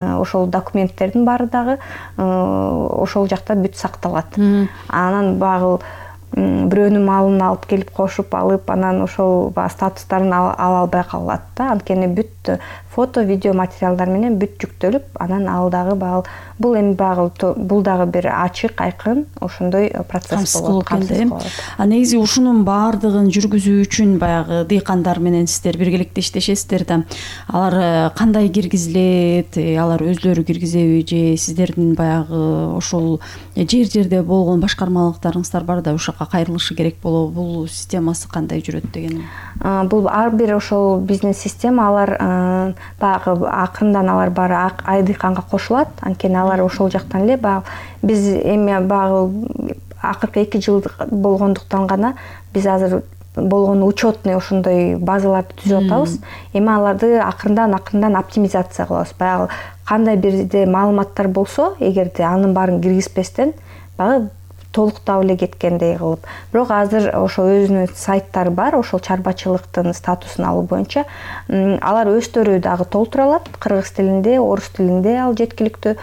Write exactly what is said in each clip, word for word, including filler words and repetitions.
ошол документтердин баары дагы ошол жакта бүт сакталат. Анан багы бирөөнүн малын алып келип кошуп алып, анан ошол статустарын ала албай калат да. Анткени бүт фото, видео материалдар менен бүт жүктөлүп, анан ал дагы багы бул эми багы бул дагы бир ачык, айкын ошондой процесс болот. А негизи ушунун баардыгын жүргүзүү үчүн баягы дыйкандар менен сиздер биргеликте иштешесиздер да. Алар кандай киргизилет, алар өзлөрү киргизеби же сиздердин баягы ошол жер-жерде болгон башкармалыктарыңыздар бар да, ошо кайрылышы керек болобу? Бул системасы кандай жүрөт дегеним? Бул ар бир ошол бизнес система алар багы акырындан алар баары айдыйканга кошулат. Анткени алар ошол жактан эле багы биз эми багы акыркы эки жыл болгондуктан гана биз азыр болгон учетный ошондой базаларды түзүп атабыз. Эми аларды акырындан акырындан оптимизация кылабыз. Баягы кандай бирде маалыматтар болсо, эгерде анын баарын киргизбестен багы толуктап эле кеткендей кылып. Бирок азыр ошо өзүнүн сайттары бар, ошол чарбачылыктын статусун алуу боюнча алар өздөрү дагы толтура алат. Кыргыз тилинде, орус тилинде ал жеткиликтүү.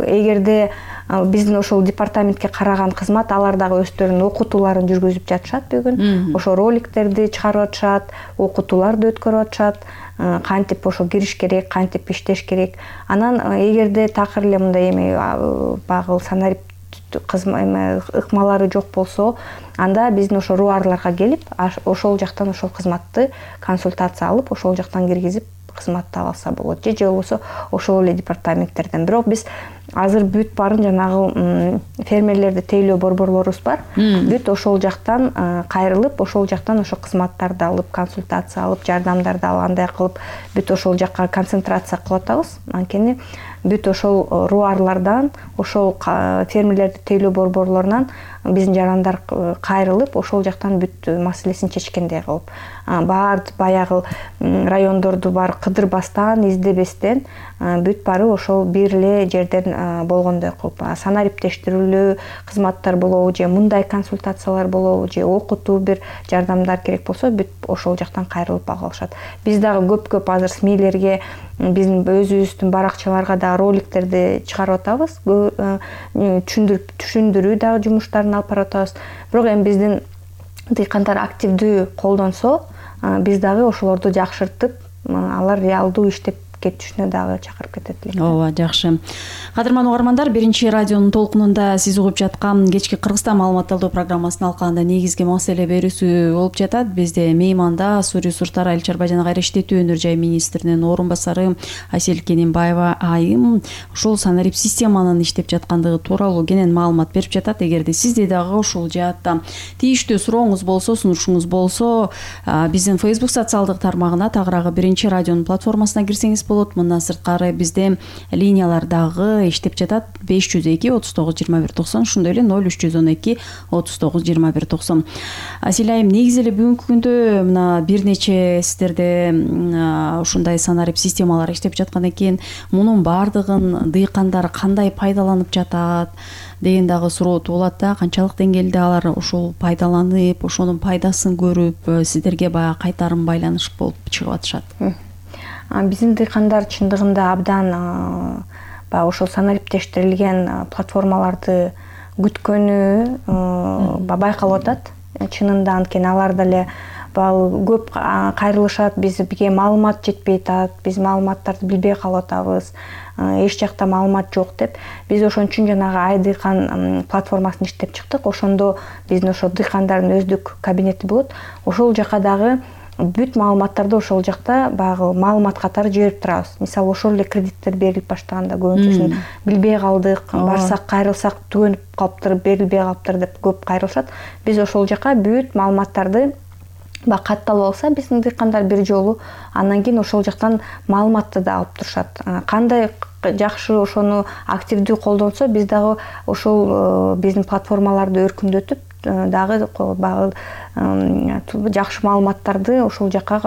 Эгерде биздин ошол департаментке караган кызмат алар дагы өздөрүнүн окутууларын жүргүзүп жатышат бүгүн. Ошо роликтерди чыгарып атышат, окутууларды өткөрүп атышат. Кантип ошо кириш керек, кантип иштеш керек. Анан эгерде такыр эле мындай эми багыл санарип ыкмалары жок болсо, анда биздин ошо руарларга келип, ошол жактан ошол кызматты консультация алып, ошол жактан киргизип кызматты алса болот. Же же болбосо ошол эле департаменттерден. Бирок биз азыр бүт баарын жанагы фермерлерди тейлөө борборлорубуз бар. Бүт ошол жактан кайрылып, ошол жактан ошо кызматтарды алып, консультация алып, жардамдарды алгандай кылып, бүт ошол жакка концентрация кылып атабыз. Анткени бүт ошол руарлардан, ошол фермерлерди тейлөө борборлорунан биздин жарандар кайрылып, ошол жактан бүт маселесин чечкендей кылып, баар баягы райондорду бар кыдырбастан, издебестен бүт баары ошол бир эле жерден болгондой кылып, санариптештирүүлүү кызматтар болобу, же мындай консультациялар болобу, же окутуу бир жардамдар керек болсо, бүт ошол жактан кайрылып ала алышат. Биз дагы көп-көп азыр смилерге, биздин өзүбүздүн баракчаларга да роликтерди чыгарып атабыз. Түшүндүрүп түшүндүрүү дагы жумуштарын алып барып атабыз. Бирок эми биздин дыйкандар активдүү колдонсо, биз дагы ошолорду жакшыртып, алар реалдуу иштеп кетишине дагы чакырып кетет элек. Ооба, жакшы. Кадырман угармандар, биринчи радионун толкунунда сиз угуп жаткан кечки Кыргызстан маалымат алуу программасынын алкагында негизги маселе берүүсү болуп жатат. Бизде мейманда Суу ресурстары, Айыл чарба жана кайра иштетүү өнөр жай министринин орун басары Асель Кененбаева айым ушул санарип системанын иштеп жаткандыгы тууралуу кенен маалымат берип жатат. Эгерде сизде дагы ушул жаатта тийиштүү сурооңуз болсо, сунушуңуз болсо, биздин Facebook социалдык тармагына, тагыраагы биринчи радионун платформасына кирсеңиз болот. Мындан сырткары бизде линиялар дагы иштеп жатат. беш жүз эки отуз тогуз жыйырма бир токсон, ошондой эле ноль үч жүз он эки отуз тогуз жыйырма бир токсон. Асель айым, негизи эле бүгүнкү күндө мына бир нече сиздерде ушундай санарип системалар иштеп жаткан экен. Мунун баардыгын дыйкандар кандай пайдаланып жатат деген дагы суроо туулат да. Канчалык деңгээлде алар ушул пайдаланып, ошонун пайдасын көрүп, сиздерге баягы кайтарым байланыш болуп чыгып атышат? Биздин дыйкандар чындыгында абдан баягы ошол санариптештирилген платформаларды күткөнү байкалып атат. Чынында, анткени алар деле көп кайрылышат, бизге маалымат жетпей атат, биз маалыматтарды билбей калып атабыз, эч жакта маалымат жок деп. Биз ошон үчүн жанагы Айдыйкан платформасын иштеп чыктык. Ошондо биздин ошо дыйкандардын өздүк кабинети болот. Ошол жака дагы бүт маалыматтарды ошол жакта багы маалымат катары жиберип турабыз. Мисалы, ошол эле кредиттер берилип баштаганда көбүнчөсүн билбей калдык, барсак кайрылсак түгөнүп калыптыр, берилбей калыптыр деп көп кайрылышат. Биз ошол жака бүт маалыматтарды ба катталып алса, биздин дыйкандар бир жолу, андан кийин ошол жактан маалыматты да алып турушат. Кандай жакшы ошону активдүү колдонсо, биз дагы ошол биздин платформаларды өркүндөтүп дагы багы жакшы маалыматтарды ошол жака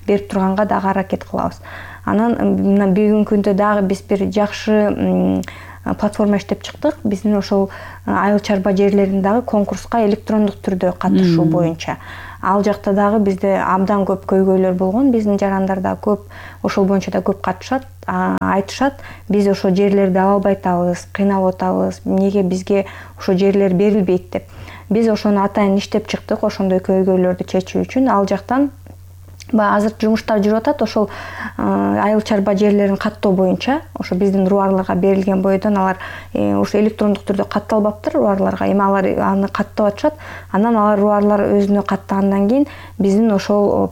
берип турганга дагы аракет кылабыз. Анан мына бүгүнкү күндө дагы биз бир жакшы платформа иштеп чыктык. Биздин ошол айыл чарба жерлерин дагы конкурска электрондук түрдө катышуу боюнча. ал жакта дагы бизде абдан көп көйгөйлөр болгон. Биздин жарандарда көп ошол боюнча да көп катышат, айтышат. Биз ошо жерлерди ала албай атабыз, кыйналып атабыз. Эмнеге бизге ошо жерлер берилбейт деп. Биз ошону атайын иштеп чыктык, ошондой көйгөйлөрдү чечүү үчүн. Ал жактан баягы азыр жумуштар жүрүп атат. Ошол айыл чарба жерлерин каттоо боюнча ошо биздин руарларга берилген бойдон алар ошо электрондук түрдө катталбаптыр руарларга. Эми алар аны каттап атышат. Анан алар руарлар өзүнө каттагандан кийин биздин ошол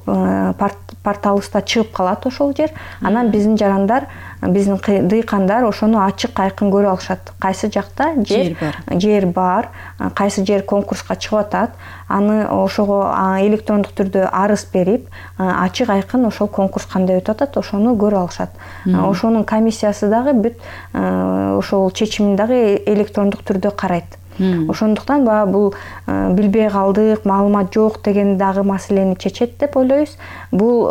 порталыбызда чыгып калат ошол жер. Анан биздин жарандар, биздин дыйкандар ошону ачык айкын көрө алышат. Кайсы жакта жер жер бар, кайсы жер конкурска чыгып атат. Аны ошого электрондук түрдө арыз берип, ачык айкын ошол конкурс кандай өтүп атат, ошону көрө алышат. Ошонун комиссиясы дагы бүт ошол чечимин дагы электрондук түрдө карайт. Ошондуктан баягы бул билбей калдык, маалымат жок деген дагы маселени чечет деп ойлойбуз. Бул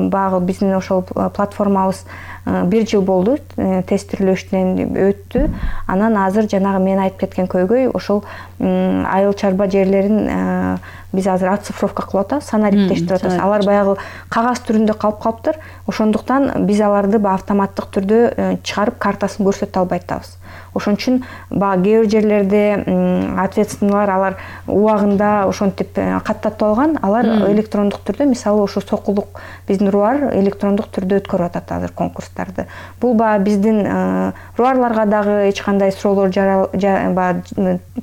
баягы биздин ошол платформабыз бир жыл болду, тестирлөөчүнөн өттү. Анан азыр жанагы мен айтып кеткен көйгөй ошол айыл чарба жерлерин биз азыр оцифровка кылып атабыз, санариптештирип атабыз. Алар баягы кагаз түрүндө калып калыптыр. Ошондуктан биз аларды автоматтык түрдө чыгарып картасын көрсөтө албай атабыз. Ошон үчүн баягы кээ бир жерлерде ответственныйлар алар убагында ошентип каттатып алган, алар электрондук түрдө, мисалы ошо Сокулук биздин руар электрондук түрдө өткөрүп атат азыр конкурстарды. Бул баягы биздин руарларга дагы эч кандай суроолор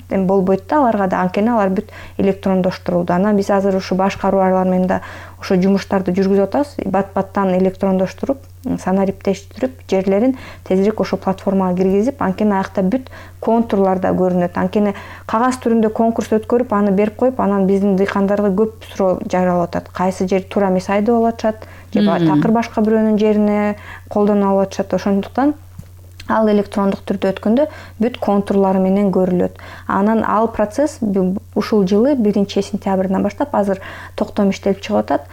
болбойт да, аларга да, анткени алар бүт электрондоштурулду. Анан биз азыр ушу башка руарлар менен да ошо жумуштарды жүргүзүп атабыз. Бат-баттан электрондоштуруп, санариптештирип, жерлерин тезирээк ошо платформага киргизип, анткени аякта бүт контурлар да көрүнөт. Анткени кагаз түрүндө конкурс өткөрүп, аны берип коюп, анан биздин дыйкандарга көп суроо жаралып атат. Кайсы жер туура эмес айдап алып атышат, же такыр башка бирөөнүн жерине колдонуп алып атышат. Ошондуктан ал электрондук түрдө өткөндө бүт контурлары менен көрүлөт. Анан ал процесс ушул жылы биринчи сентябрдан баштап азыр токтом иштелип чыгып атат.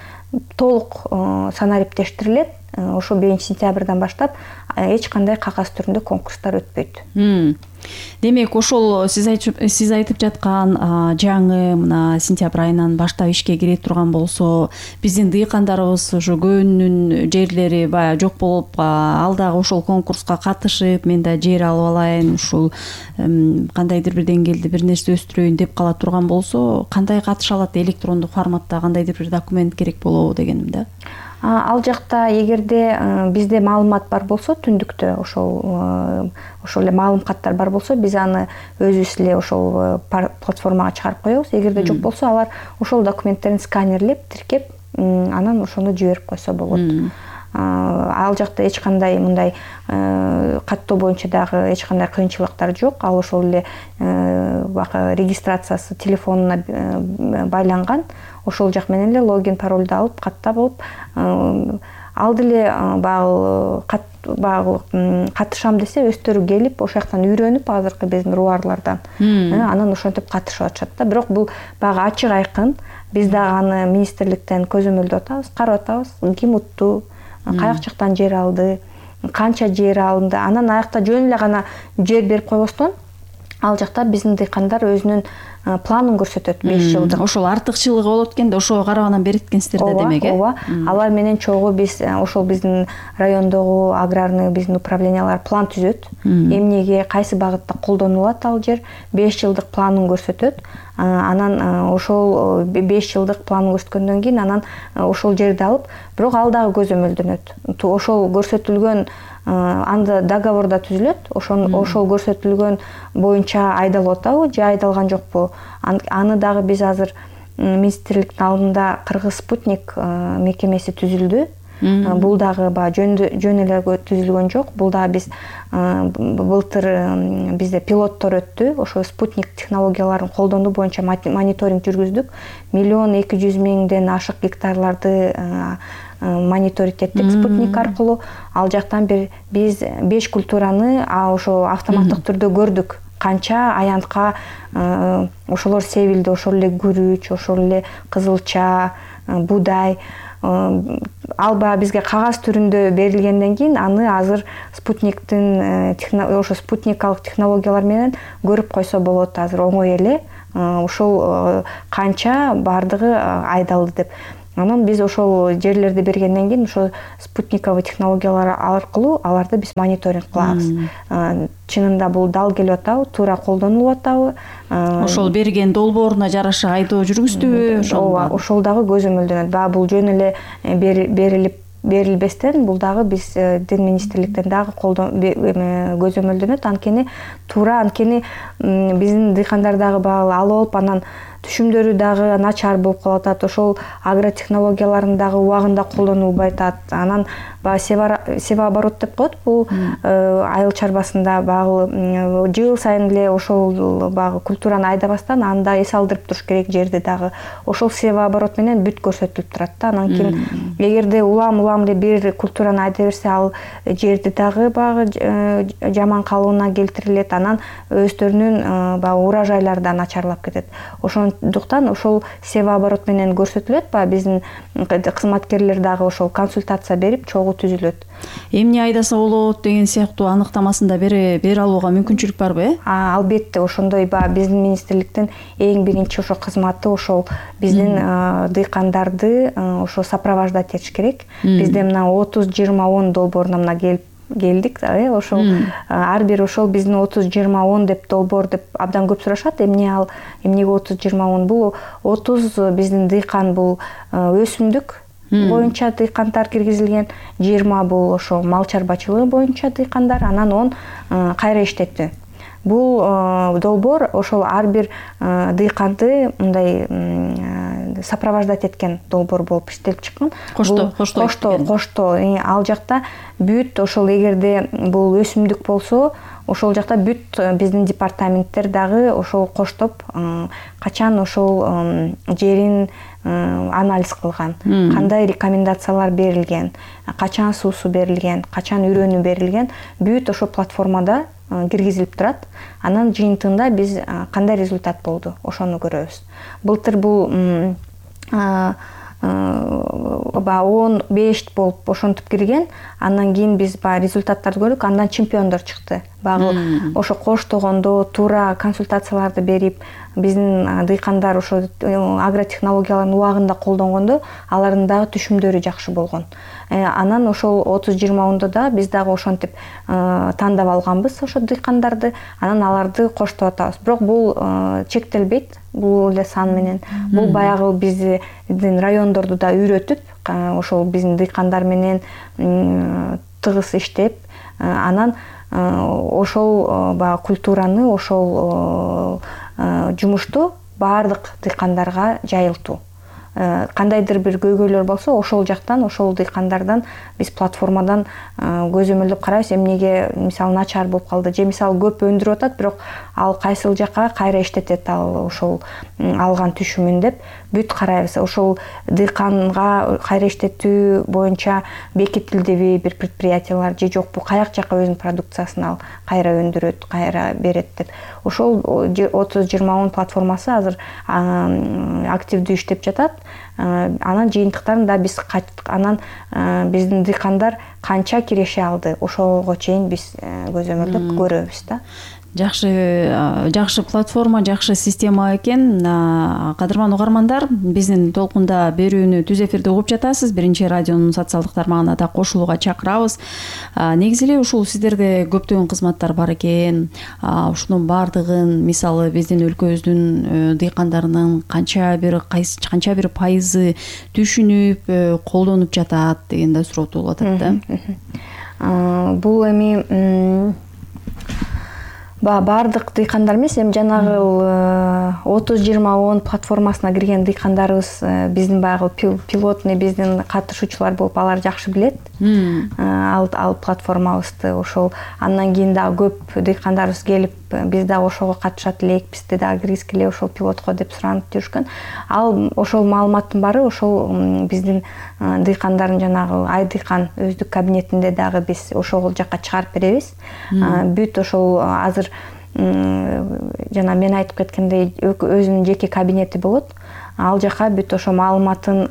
Толук санариптештирилет. Ошо биринчи сентябрдан баштап эч кандай кагаз түрүндө конкурстар өтпөйт. Демек, ошол сиз айтып сиз айтып жаткан жаңы мына сентябрь айынан баштап ишке кире турган болсо, биздин дыйкандарыбыз ошо көбүнүн жерлери баягы жок болуп, ал дагы ошол конкурска катышып, мен да жер алып алайын, ушул кандайдыр бир деңгээлде бир нерсе өстүрөйүн деп кала турган болсо, кандай катыша алат? Электрондук форматта кандайдыр бир документ керек болобу дегеним да. Ал жакта эгерде бизде маалымат бар болсо, түндүктө ошол ошол эле маалым каттар бар болсо, биз аны өзүбүз эле ошол платформага чыгарып коебуз. Эгерде жок болсо, алар ошол документтерин сканерлеп, тиркеп, анан ошону жиберип койсо болот. Ал жакта эч кандай мындай каттоо боюнча дагы эч кандай кыйынчылыктар жок. Ал ошол эле бакы регистрациясы телефонуна байланган. Ошол жак менен эле логин, паролду алып, каттап алып, ал деле баягы баягы катышам десе, өздөрү келип, ошол жактан үйрөнүп, азыркы биздин руарлардан, анан ошентип катышып атышат да. Бирок бул баягы ачык айкын. Биз дагы аны министрликтен көзөмөлдөп атабыз, карап атабыз. Ким утту, каяк жактан жер алды, канча жер алынды. Анан аякта жөн эле гана жер берип койбостон, ал жакта биздин дыйкандар өзүнүн планын көрсөтөт беш жылдык. Ошол артыкчылыгы болот экен да, ошого карабанан берет экенсиздер да демек, э? Ооба, алар менен чогуу биз ошол биздин райондогу аграрный биздин управлениялар план түзөт. Эмнеге, кайсы багытта колдонулат ал жер, беш жылдык планын көрсөтөт. Анан ошол беш жылдык планын көрсөткөндөн кийин анан ошол жерди алып, бирок ал дагы көзөмөлдөнөт. Ошол көрсөтүлгөн анда договорда түзүлөт. Ошол ошол көрсөтүлгөн боюнча айдалып атабы же айдалган жокпу? Аны дагы биз азыр министрликтин алдында Кыргыз спутник мекемеси түзүлдү. Бул дагы баягы жөн эле түзүлгөн жок. Бул дагы биз былтыр бизде пилоттор өттү. Ошо спутник технологияларын колдонуу боюнча мониторинг жүргүздүк. Миллион эки жүз миңден ашык гектарларды мониторинг эттик спутник аркылуу. Ал жактан бир биз беш культураны ошо автоматтык түрдө көрдүк. Канча аянтка ошолор себилди, ошол эле күрүч, ошол эле кызылча, буудай. Ал баягы бизге кагаз түрүндө берилгенден кийин аны азыр спутниктин ошо спутникалык технологиялар менен көрүп койсо болот. Азыр оңой эле ошол канча баардыгы айдалды деп. Анан биз ошол жерлерди бергенден кийин ошо спутниковый технологиялар аркылуу аларды биз мониторинг кылабыз. Чынында бул дал келип атабы, туура колдонулуп атабы? Ошол берген долбооруна жараша айдоо жүргүздүбү? Ооба, ошол дагы көзөмөлдөнөт. Баягы бул жөн эле берилип берилбестен бул дагы биз Дин министрликтен дагы көзөмөлдөнөт. Анткени туура, анткени биздин дыйкандар дагы баягы алып алып анан түшүмдөрү дагы начар болуп калып атат. Ошол агротехнологияларын дагы убагында колдонулбай атат. Анан баягы себооборот деп коет. Бул айыл чарбасында баягы жыл сайын эле ошол баягы культураны айдабастан аны да эс алдырып туруш керек жерди дагы. Ошол себооборот менен бүт көрсөтүлүп турат да. Анан кийин эгерде улам улам эле бир культураны айда берсе, ал жерди дагы баягы жаман калыбына келтирилет. Анан өздөрүнүн баягы урожайлары да начарлап кетет. Ошондуктан ошол себооборот менен көрсөтүлөт. Баягы биздин кызматкерлер дагы ошол консультация берип чогуу түзүлөт. Эмне айдаса болот деген сыяктуу аныктамасын да бере бере алууга мүмкүнчүлүк барбы, э? Албетте, ошондой баягы биздин министрликтин эң биринчи ошо кызматы ошол биздин дыйкандарды ошо сопровождать этиш керек. Бизде мына отуз жыйырма он долбооруна мына келип келдик, э, ошол ар бир ошол биздин отуз жыйырма он деп долбоор деп абдан көп сурашат. Эмне ал, эмнеге отуз жыйырма он? Бул отуз биздин дыйкан бул өсүмдүк боюнча дыйкандар киргизилген, жыйырма бул ошо мал чарбачылыгы боюнча дыйкандар, анан он кайра иштетүү. Бул долбоор ошол ар бир дыйканды мындай сопровождать эткен долбоор болуп иштелип чыккан. Коштоо, коштоо, коштоо. Ал жакта бүт ошол эгерде бул өсүмдүк болсо, ошол жакта бүт биздин департаменттер дагы ошол коштоп качан ошол жерин анализ кылган, кандай рекомендациялар берилген, качан суусу берилген, качан үрөнү берилген, бүт ошол платформада киргизилип турат. Анан жыйынтыгында биз кандай результат болду, ошону көрөбүз. Былтыр бул баягы он беш болуп ошентип кирген. Андан кийин биз баягы результаттарды көрдүк. Андан чемпиондор чыкты. Баягы ошо коштогондо туура консультацияларды берип, биздин дыйкандар ошо агротехнологияларын убагында колдонгондо алардын дагы түшүмдөрү жакшы болгон. Анан ошол отуз жыйырма ондо да биз дагы ошентип тандап алганбыз ошо дыйкандарды. Анан аларды коштоп атабыз. Бирок бул чектелбейт, бул эле сан менен. Бул баягы биздин райондорду да үйрөтүп, ошол биздин дыйкандар менен тыгыз иштеп, анан ошол баягы культураны, ошол жумушту баардык дыйкандарга жайылтуу. Кандайдыр бир көйгөйлөр болсо, ошол жактан, ошол дыйкандардан биз платформадан көзөмөлдөп карайбыз, эмнеге мисалы начар болуп калды, же мисалы көп өндүрүп атат, бирок ал кайсыл жакка кайра иштетет ал ошол алган түшүмүн деп бүт карайбыз. Ошол дыйканга кайра иштетүү боюнча бекитилдиби бир предприятиялар же жокпу, каяк жакка өзүнүн продукциясын ал кайра өндүрөт, кайра берет деп. Ошол отуз жыйырма он платформасы азыр активдүү иштеп жатат. Анан жыйынтыктарын да биз анан биздин дыйкандар канча киреше алды, ошого чейин биз көзөмөлдөп көрөбүз да. Жакшы, жакшы платформа, жакшы система экен. Кадырман угармандар, биздин толкунда берүүнү түз эфирде угуп жатасыз. Биринчи радионун социалдык тармагына да кошулууга чакырабыз. Негизи эле ушул сиздерде көптөгөн кызматтар бар экен. Ушунун баардыгын, мисалы, биздин өлкөбүздүн дыйкандарынын канча бир кайсы канча бир пайызы түшүнүп, колдонуп жатат деген да суроо туулуп атат да. Бул эми баардык дыйкандар эмес, эми жанагы отуз жыйырма он платформасына кирген дыйкандарыбыз биздин баягы пилотный биздин катышуучулар болуп, алар жакшы билет ал ал платформабызды. Ошол андан кийин дагы көп дыйкандарыбыз келип, биз дагы ошого катышат элек, бизди дагы киргизгиле ошол пилотко деп суранып жүрүшкөн. Ал ошол маалыматтын баары ошол биздин дыйкандардын жанагы айдыйкан өздүк кабинетинде дагы биз ошол жакка чыгарып беребиз. Бүт ошол азыр жана мен айтып кеткендей өзүнүн жеке кабинети болот. Ал жака бүт ошо маалыматын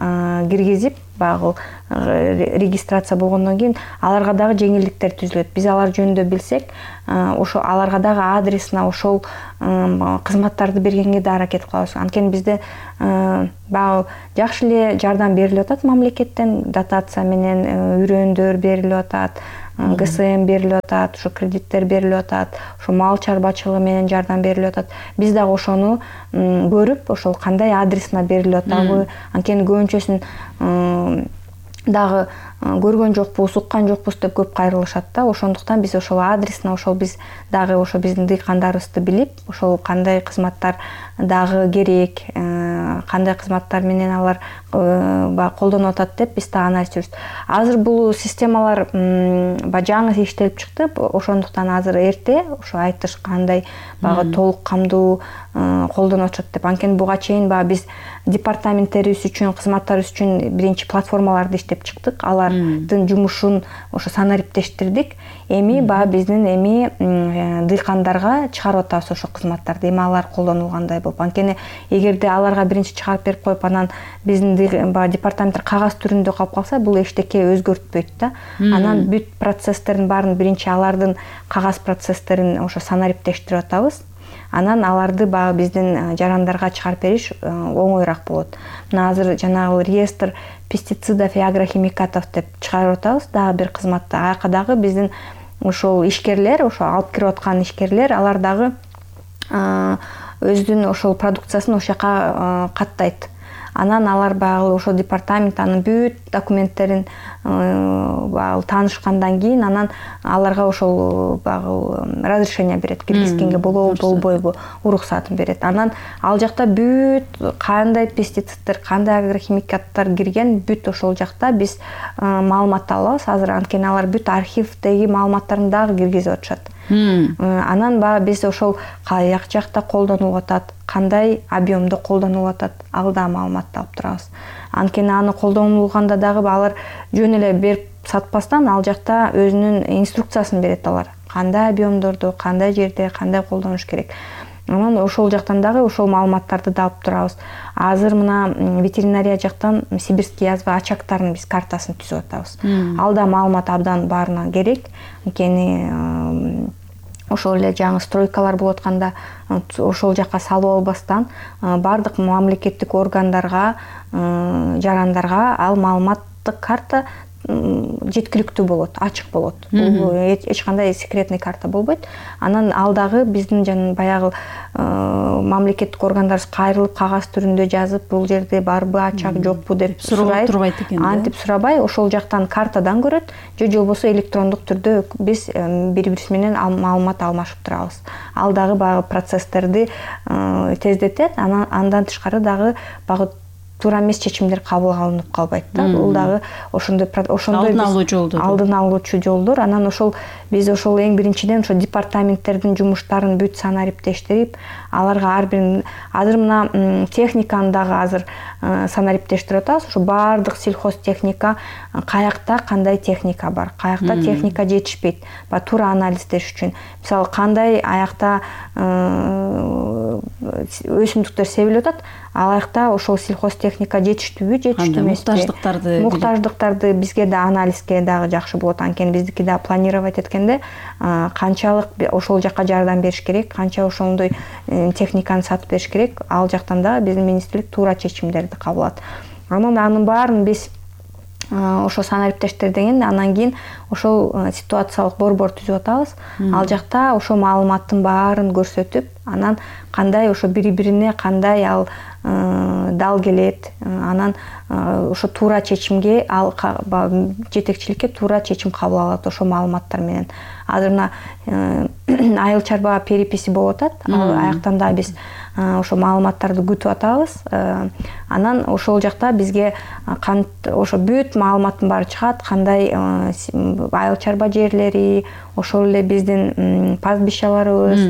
киргизип, баягы регистрация болгондон кийин аларга дагы жеңилдиктер түзүлөт. Биз алар жөнүндө билсек, ошо аларга дагы адресине ошол кызматтарды бергенге да аракет кылабыз. Анткени бизде баягы жакшы эле жардам берилип атат мамлекеттен, дотация менен үрөөндөр берилип атат, ГСМ берилип атат, ошо кредиттер берилип атат, ошо мал чарбачылыгы менен жардам берилип атат. Биз дагы ошону көрүп, ошол кандай адресине берилип атабы, анткени көбүнчөсүн дагы көргөн жокпуз, уккан жокпуз деп көп кайрылышат да. Ошондуктан биз ошол адресине ошол биз дагы ошо биздин дыйкандарыбызды билип, ошол кандай кызматтар дагы керек, кандай кызматтар менен алар баягы колдонуп атат деп биз дагы анализ жүрүбүз. Азыр бул системалар баягы жаңы иштелип чыкты, ошондуктан азыр эрте ошо айтыш кандай баягы толук камдуу колдонуп атышат деп. Анткени буга чейин баягы биз департаменттерибиз үчүн, кызматтарыбыз үчүн биринчи платформаларды иштеп чыктык. Алардын жумушун ошо санариптештирдик. Эми баягы биздин эми дыйкандарга чыгарып атабыз ошо кызматтарды. Эми алар колдонулгандай болуп. Анткени эгерде аларга биринчи чыгарып берип коюп, анан биздин баягы департаменттер кагаз түрүндө калып калса, бул эчтеке өзгөртпөйт да. Анан бүт процесстердин баарын биринчи алардын кагаз процесстерин ошо санариптештирип атабыз. Анан аларды баягы биздин жарандарга чыгарып бериш оңоюраак болот. Мына азыр жанагы реестр пестицидов и агрохимикатов деп чыгарып атабыз, дагы бир кызматты. Аяка дагы биздин ошол ишкерлер, ошо алып кирип аткан ишкерлер, алар дагы өзүнүн ошол продукциясын ошол жака каттайт. Анан алар баягы ошол департамент анын бүт документтерин баягы таанышкандан кийин анан аларга ошол баягы разрешение берет, киргизгенге болобу болбойбу, уруксатын берет. Анан ал жакта бүт кандай пестициддер, кандай агрохимикаттар кирген, бүт ошол жакта биз маалымат алабыз азыр. Анткени алар бүт архивдеги маалыматтарын дагы киргизип атышат. Анан баягы биз ошол каяк жакта колдонулуп атат, кандай объемдо колдонулуп атат, ал да маалыматты алып турабыз. Анткени аны колдонулганда дагы алар жөн эле берип сатпастан ал жакта өзүнүн инструкциясын берет алар. Кандай объемдордо, кандай жерде, кандай колдонуш керек. Анан ошол жактан дагы ошол маалыматтарды да алып турабыз. Азыр мына ветеринария жактан сибирский язва очактарынын биз картасын түзүп атабыз. Ал да маалымат абдан баарына керек. Анткени ошол эле жаңы стройкалар болуп атканда ошол жака салып албастан бардык мамлекеттик органдарга, жарандарга ал маалыматтык карта жеткиликтүү болот, ачык болот. Бул эч кандай секретный карта болбойт. Анан ал дагы биздин жана баягы мамлекеттик органдарыбыз кайрылып кагаз түрүндө жазып, бул жерде барбы, ачак жокпу деп сурайт. Турбайт экен да. Антип сурабай, ошол жактан картадан көрөт, же болбосо электрондук түрдө биз бири-бирибиз менен маалымат алмашып турабыз. Ал дагы баягы процесстерди тездетет. Анан андан тышкары дагы баягы туура эмес чечимдер кабыл алынып калбайт да. Бул дагы ошондой ошондой алдын алуу жолдор. Алдын алуучу жолдор. Анан ошол биз ошол эң биринчиден ошо департаменттердин жумуштарын бүт санариптештирип, аларга ар бир азыр мына техниканы дагы азыр санариптештирип атабыз. Ошо баардык сельхозтехника каякта кандай техника бар, каякта техника жетишпейт. Ба туура анализдеш үчүн. Мисалы кандай аякта өсүмдүктөр себилип атат, алакта ошол сельхозтехника жетиштүүбү, жетиштүү эмеспи? Муктаждыктарды муктаждыктарды бизге да анализге дагы жакшы болот. Анткени биздики да планировать эткенде канчалык ошол жака жардам бериш керек, канча ошондой техниканы сатып бериш керек, ал жактан да биздин министрлик туура чечимдерди кабыл алат. Анан анын баарын биз ошо санариптештирден анан кийин ошол ситуациялык борбор түзүп атабыз. Ал жакта ошо маалыматтын баарын көрсөтүп, анан кандай ошо бири-бирине кандай ал дал келет, анан ошо туура чечимге ал жетекчиликке туура чечим кабыл алат ошо маалыматтар менен. Азыр мына айыл чарба переписи болуп атат. Ал аяктан да биз ошо маалыматтарды күтүп атабыз. Анан ошол жакта бизге ошо бүт маалыматтын баары чыгат, кандай айыл чарба жерлери, ошол эле биздин пастбищаларыбыз.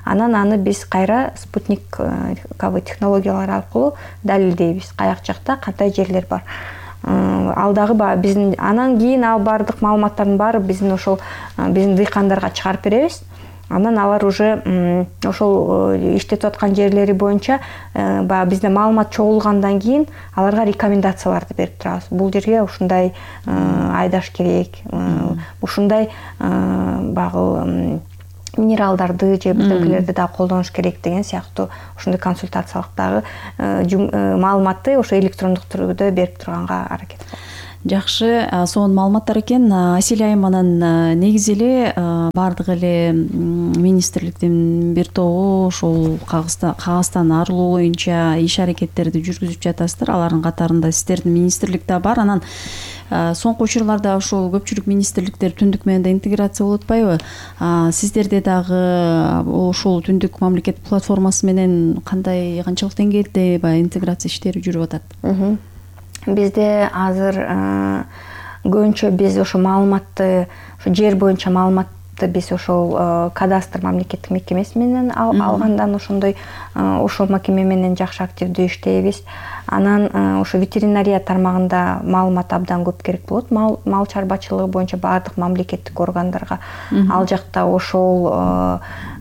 Анан аны биз кайра спутниковый технологиялар аркылуу далилдейбиз, каяк жакта кандай жерлер бар. Ал дагы биздин анан кийин ал бардык маалыматтардын баары биздин ошол биздин дыйкандарга чыгарып беребиз. Анан алар уже ошол иштетип аткан жерлери боюнча баягы бизде маалымат чогулгандан кийин аларга рекомендацияларды берип турабыз. Бул жерге ушундай айдаш керек, ушундай баягы минералдарды же бирдекелерди да колдонуш керек деген сыяктуу ушундай консультациялык дагы маалыматты ошо электрондук түрдө берип турганга аракет кылабыз. Жакшы, сонун маалыматтар экен. Аселя айым анан негизи эле баардык эле министрликтин бир тобу ушул кагаздан арылуу боюнча иш аракеттерди жүргүзүп жатасыздар. Алардын катарында сиздердин министрлик да бар. Анан соңку учурларда ушул көпчүлүк министрликтер түндүк менен да интеграция болуп атпайбы? Сиздерде дагы ушул түндүк мамлекет платформасы менен кандай канчалык деңгээлде баягы интеграция иштери жүрүп атат? Бизде азыр көбүнчө биз ошо маалыматты, ошо жер боюнча маалыматты биз ошол кадастр мамлекеттик мекемеси менен алгандан ошондой ошол мекеме менен жакшы активдүү иштейбиз. Анан ошо ветеринария тармагында маалымат абдан көп керек болот. Мал чарбачылыгы боюнча баардык мамлекеттик органдарга ал жакта ошол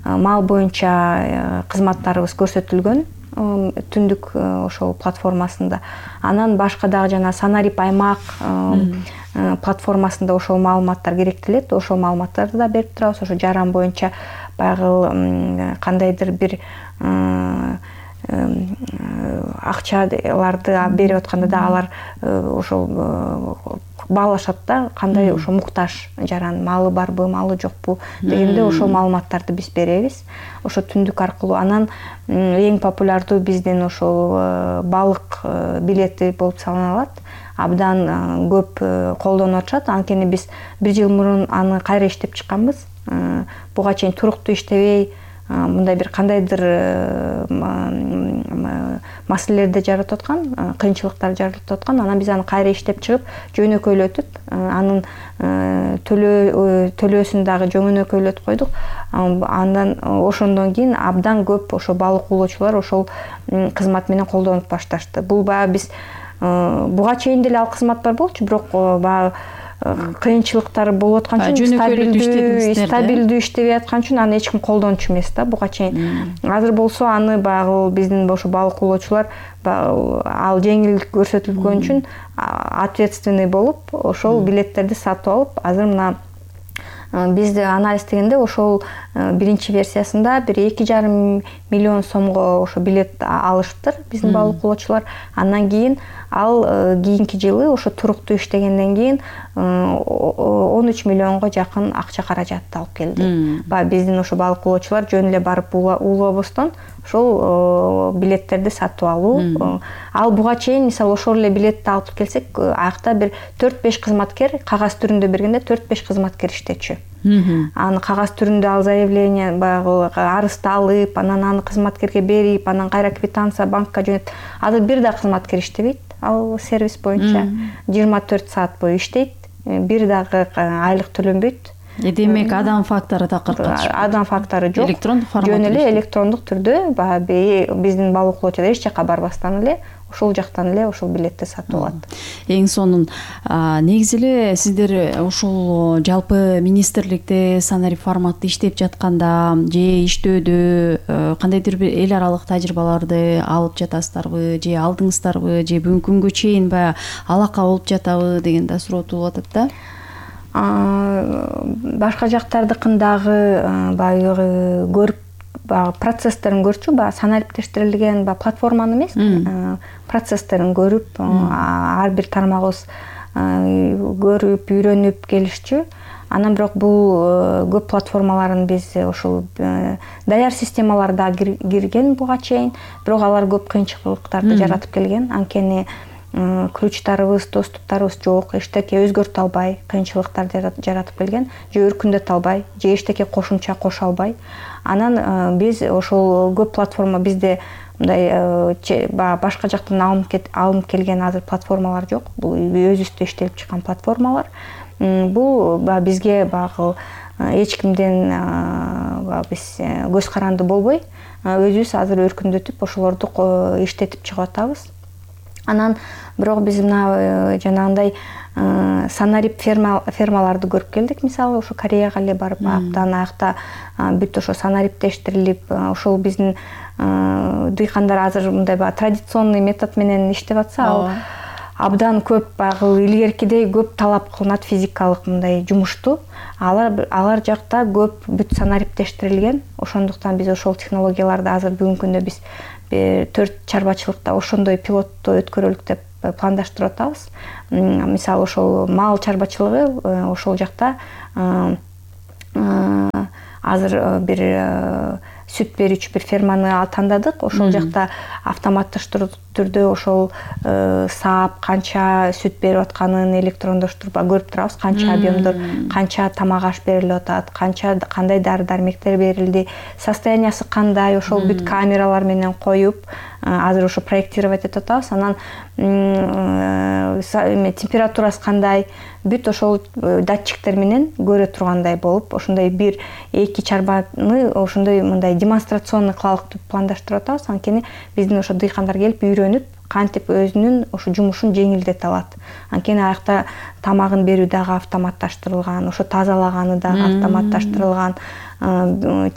мал боюнча кызматтарыбыз көрсөтүлгөн түндүк ошол платформасында. Анан башка дагы жана Санарип аймак платформасында ошол маалыматтар керектелет. Ошол маалыматтарды да берип турабыз. Ошо жаран боюнча баягы кандайдыр бир акчаларды берип атканда да алар ошол баалашат да, кандай ошо муктаж жаран, малы барбы, малы жокпу дегенде ошол маалыматтарды биз беребиз. Ошо түндүк аркылуу. Анан эң популярдуу биздин ошол балык билети болуп саналат. Абдан көп колдонуп атышат. Анткени биз бир жыл мурун аны кайра иштеп чыкканбыз. Буга чейин туруктуу иштебей, мындай бир кандайдыр маселелерди жаратып аткан, кыйынчылыктар жаратып аткан. Анан биз аны кайра иштеп чыгып, жөнөкөйлөтүп, анын төлөөсүн дагы жөнөкөйлөтүп койдук. Андан ошондон кийин абдан көп ошо балык уулоочулар ошол кызмат менен колдонуп башташты. Бул баягы биз буга чейин деле ал кызмат бар болчу, бирок баягы кыйынчылыктар болуп аткан үчүн, стабилдүү стабилдүү иштебей аткан үчүн аны эч ким колдончу эмес да буга чейин. Азыр болсо аны баягы биздин ошо балык уулоочулар ал жеңилдик көрсөтүлгөн үчүн ответственный болуп ошол билеттерди сатып алып, азыр мына биз анализдегенде ошол биринчи версиясында бир эки жарым миллион сомго ошо билет алышыптыр биздин балык уулоочулар. Андан кийин ал кийинки жылы ошо туруктуу иштегенден кийин он үч миллионго жакын акча каражатты алып келди. Баягы биздин ошо балык уулоочулар жөн эле барып уулобостон ошол билеттерди сатып алуу. Ал буга чейин мисалы ошол эле билетти алып келсек, аякта бир төрт беш кызматкер, кагаз түрүндө бергенде төрт беш кызматкер иштечү. Аны кагаз түрүндө ал заявление баягы арызды алып, анан аны кызматкерге берип, анан кайра квитанция банкка жөнөтүп. Азыр бир да кызматкер иштебейт. Ал сервис боюнча жыйырма төрт саат бою иштейт. Бир дагы айлык төлөнбөйт. Демек адам фактору такыр катышпайт. Адам фактору жок. Электрондук форматта. Жөн эле электрондук түрдө баягы биздин балык уулоочулар эч жакка барбастан эле ошол жактан эле ошол билетти сатып алат. Эң сонун негизи эле сиздер ушул жалпы министрликте Санарип форматты иштеп жатканда же иштөөдө кандайдыр бир эл аралык тажрыйбаларды алып жатасыздарбы, же алдыңыздарбы, же бүгүнкү күнгө чейин баягы алака болуп жатабы деген да суроо туулуп атат да. Башка жактардыкындагы баягы көрүп баягы процесстерин көрчү, баягы санариптештирилген баягы платформаны эмес, процесстерин көрүп, ар бир тармагыбыз көрүп, үйрөнүп келишчү. Анан бирок бул көп платформаларын биз ошол даяр системаларда кирген буга чейин, бирок алар көп кыйынчылыктарды жаратып келген. Анткени ключтарыбыз, доступтарыбыз жок, эчтеке өзгөртө албай, кыйынчылыктар жаратып келген, же өркүндөтө албай, же эчтеке кошумча кошо албай. Анан биз ошол көп платформа бизде мындай башка жактан алынып келген азыр платформалар жок. Бул өзүбүздө иштелип чыккан платформалар. Бул бизге багы эч кимден биз көз каранды болбой, өзүбүз азыр өркүндөтүп ошолорду иштетип чыгып атабыз. Анан бирок биз мына жанагындай санарип фермаларды көрүп келдик. Мисалы ошо Кореяга эле барып, абдан аякта бүт ошо санариптештирилип, ошол биздин дыйкандар азыр мындай баягы традиционный метод менен иштеп атса, ал абдан көп баягы илгеркидей көп талап кылынат физикалык мындай жумушту. Алар алар жакта көп бүт санариптештирилген. Ошондуктан биз ошол технологияларды азыр бүгүнкү күндө биз төрт чарбачылыкта ошондой пилотту өткөрөлүк деп пландаштырып атабыз. Мисалы ошол мал чарбачылыгы ошол жакта азыр бир сүт берүүчү бир ферманы тандадык. Ошол жакта автоматташтыруу түрдө ошол саап канча сүт берип атканын электрондоштуруп көрүп турабыз. Канча объемдор, канча тамак аш берилип атат, канча кандай дары-дармектер берилди, состояниясы кандай, ошол бүт камералар менен коюп азыр ошо проектировать этип атабыз. Анан температурасы кандай, бүт ошол датчиктер менен көрө тургандай болуп, ошондой бир эки чарбаны ошондой мындай демонстрационный кылалык деп пландаштырып атабыз. Анткени биздин ошо дыйкандар келип үйрөнүп, кантип өзүнүн ошо жумушун жеңилдете алат. Анткени аякта тамагын берүү дагы автоматташтырылган, ошо тазалаганы дагы автоматташтырылган,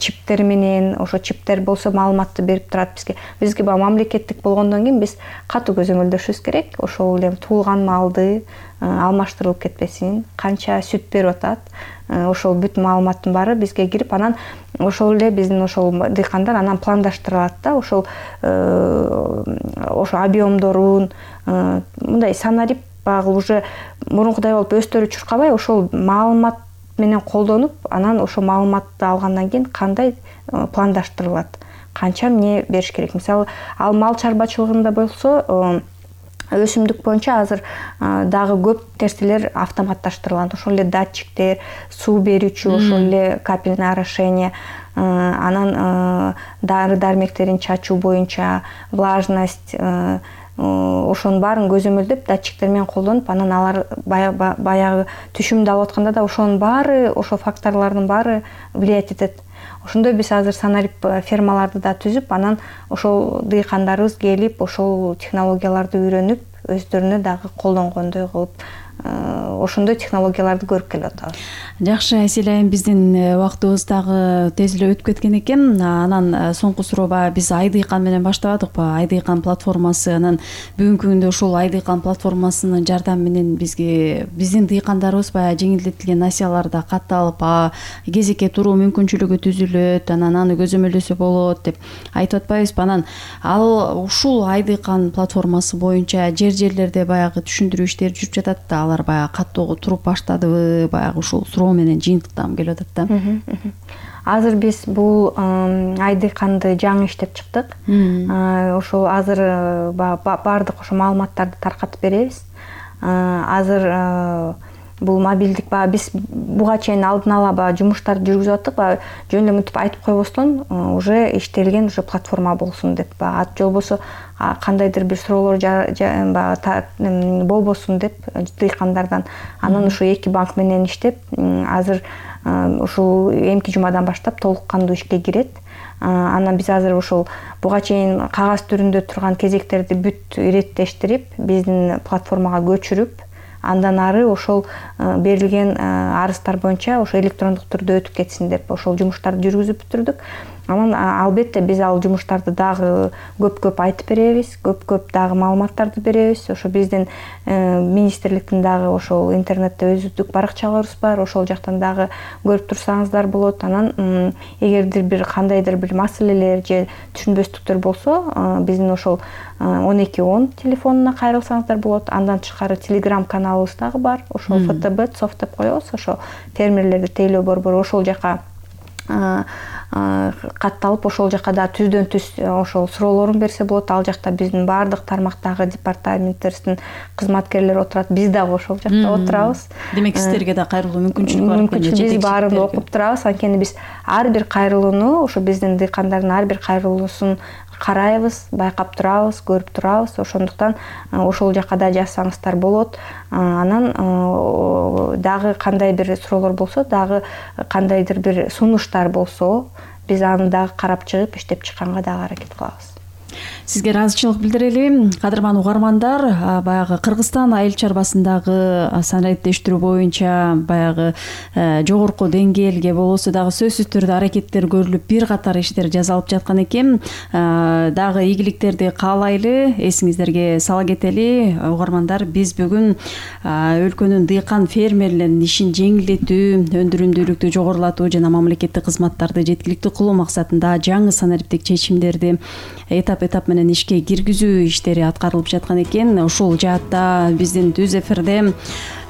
чиптер менен, ошо чиптер болсо маалыматты берип турат бизге. Бизге баягы мамлекеттик болгондон кийин биз катуу көзөмөлдөшүбүз керек. Ошол эле туулган малды алмаштырылып кетпесин, канча сүт берип атат, ошол бүт маалыматтын баары бизге кирип, анан ошол эле биздин ошол дыйкандар анан пландаштырат да, ошол ошо объемдорун мындай санарип багы уже мурункудай болуп өстөрү чуркабай, ошол маалымат менен колдонуп, анан ошол маалыматты алгандан кийин кандай пландаштырылат, канча эмне бериш керек. Мисалы, ал мал чарбачылыгында болсо өсүмдүк боюнча азыр дагы көп нерселер автоматташтырылган. Ошол эле датчиктер, суу берүүчү, ошол эле капельное орошение, анан дары-дармектерин чачуу боюнча влажность, ошонун баарын көзөмөлдөп датчиктер менен колдонуп, анан алар баягы түшүмдү алып атканда да ошонун баары, ошол факторлордун баары влиять этет. Ошондой биз азыр санарип фермаларды да түзүп, анан ошол дыйкандарыбыз келип, ошол технологияларды үйрөнүп, өздөрүнө дагы колдонгондой кылып, ошондой технологияларды көрүп келип атабыз. Жакшы, Айсель айым, биздин убактыбыз дагы тез эле өтүп кеткен экен. Анан соңку суроо баягы биз Айдыйкан менен баштабадыкпы? Айдыйкан платформасы, анан бүгүнкү күндө ушул Айдыйкан платформасынын жардамы менен бизге биздин дыйкандарыбыз баягы жеңилдетилген насыяларда катталып, кезекке туруу мүмкүнчүлүгү түзүлөт, анан аны көзөмөлдөсө болот деп айтып атпайбызбы? Анан ал ушул Айдыйкан платформасы боюнча жер жерлерде баягы түшүндүрүү иштери жүрүп жатат да, алар баягы каттоого туруп баштадыбы? Баягы ушул суроо менен жыйынтыктагым келип атат да. Азыр биз бул Айдыйканды жаңы иштеп чыктык. Ошол азыр баардык ошо маалыматтарды таркатып беребиз. Азыр бул мобилдик баягы биз буга чейин алдын ала баягы жумуштарды жүргүзүп аттык, баягы жөн эле мынтип айтып койбостон уже иштелген уже платформа болсун деп, баягы ат болбосо кандайдыр бир суроолор баягы болбосун деп дыйкандардан. Анан ушу эки банк менен иштеп, азыр ушул эмки жумадан баштап толук кандуу ишке кирет. Анан биз азыр ушул буга чейин кагаз түрүндө турган кезектерди бүт иреттештирип, биздин платформага көчүрүп, андан ары ошол берилген арыздар боюнча ошо электрондук түрдө өтүп кетсин деп ошол жумуштарды жүргүзүп бүтүрдүк. Анан албетте биз ал жумуштарды дагы көп-көп айтып беребиз, көп-көп дагы маалыматтарды беребиз. Ошо биздин министрликтин дагы ошол интернетте өзүбүздүк баракчаларыбыз бар, ошол жактан дагы көрүп турсаңыздар болот. Анан эгердир бир кандайдыр бир маселелер же түшүнбөстүктөр болсо, биздин ошол он эки он телефонуна кайрылсаңыздар болот. Андан тышкары телеграм каналыбыз дагы бар. Ошол эф тэ бэ цоф деп коебуз. Ошо фермерлерди тейлөө борбору, ошол жака катталып, ошол жака да түздөн түз ошол суроолорун берсе болот. Ал жакта биздин баардык тармактагы департаменттерибиздин кызматкерлери отурат. Биз дагы ошол жакта отурабыз. Демек сиздерге да кайрылуу мүмкүнчүлүк бар. Мүмкүнчүлүк биз баарын окуп турабыз. Анткени биз ар бир кайрылууну, ошо биздин дыйкандардын ар бир кайрылуусун карайбыз, байкап турабыз, көрүп турабыз. Ошондуктан ошол жака да жазсаңыздар болот. Анан дагы кандай бир суроолор болсо, дагы кандайдыр бир сунуштар болсо, биз аны дагы карап чыгып, иштеп чыкканга дагы аракет кылабыз. Сизге ыраазычылык билдирели. Кадырман угармандар, баягы Кыргызстан айыл чарбасындагы санариптештирүү боюнча баягы жогорку деңгээлге болосо дагы сөзсүз түрдө аракеттер көрүлүп, бир катар иштер жасалып жаткан экен. Дагы ийгиликтерди каалайлы. Эсиңиздерге сала кетели, угармандар, биз бүгүн өлкөнүн дыйкан фермерлеринин ишин жеңилдетүү, өндүрүмдүүлүктү жогорулатуу жана мамлекеттик кызматтарды жеткиликтүү кылуу максатында жаңы санариптик чечимдерди этап этап менен ишке киргизүү иштери аткарылып жаткан экен. Ушул жаатта биздин түз эфирде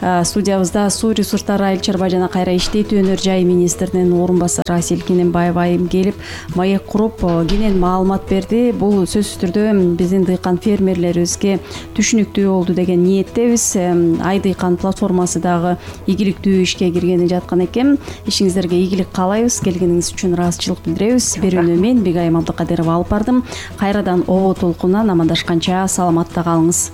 студиябызда суу ресурстары, айыл чарба жана кайра иштетүү өнөр жай министринин орун басары Асель Кененбаева айым келип, маек куруп, кенен маалымат берди. Бул сөзсүз түрдө биздин дыйкан фермерлерибизге түшүнүктүү болду деген ниеттебиз. Ай дыйкан платформасы дагы ийгиликтүү ишке киргени жаткан экен. Ишиңиздерге ийгилик каалайбыз. Келгениңиз үчүн ыраазычылык билдиребиз. Берүүнү мен Бегайым Абдыкадырова алып бардым. Кайрадан обо толкунунан амандашканча саламатта калыңыз.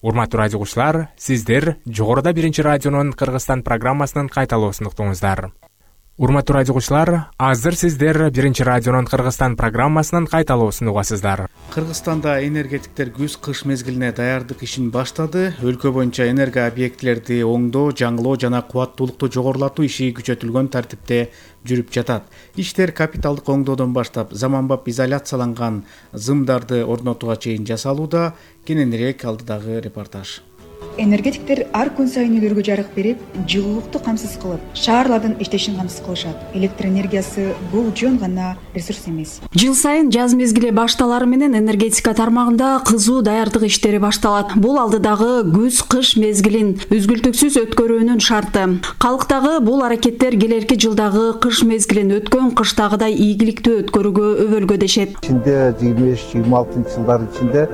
Урматтуу радио угуучулар, сиздер жогоруда биринчи радионун Кыргызстан программасынын кайталоосун уктуңуздар. Урматтуу радио угуучулар, азыр сиздер биринчи радионун Кыргызстан программасынын кайталоосун угасыздар. Кыргызстанда энергетиктер күз-кыш мезгилине даярдык ишин баштады. Өлкө боюнча энерго объектилерди оңдоо, жаңылоо жана кубаттуулукту жогорулатуу иши күчөтүлгөн тартипте жүрүп жатат. Иштер капиталдык оңдоодон баштап заманбап изоляцияланган зымдарды орнотууга чейин жасалууда. Кененирээк алдыдагы репортаж. Энергетиктер ар күн сайын үйлөргө жарык берип, жылуулукту камсыз кылып, шаарлардын иштешин камсыз кылышат. Электр энергиясы бул жөн гана ресурс эмес. Жыл сайын жаз мезгили башталары менен энергетика тармагында кызуу даярдык иштери башталат. Бул алдыдагы күз-кыш мезгилин үзгүлтүксүз өткөрүүнүн шарты. Калктагы бул аракеттер келерки жылдагы кыш мезгилин өткөн кыштагыдай ийгиликтүү өткөрүүгө өбөлгө дешет. Ичинде жыйырма беш жыйырма алтынчы жылдар ичинде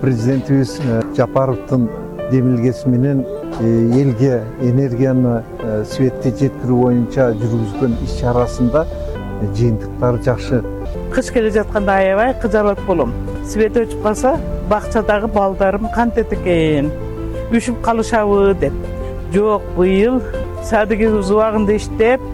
президентибиз Жапаровдун демилгеси менен элге энергияны светке жеткирүү боюнча жүргүзгөн иш чарасында жыйынтыктары жакшы. Кыш келе жатканда аябай кыжалат болом. Свет өчүп калса, бакчадагы балдарым кантет экен, үшүп калышабы деп. Жок, быйыл садыгыбыз убагында иштеп,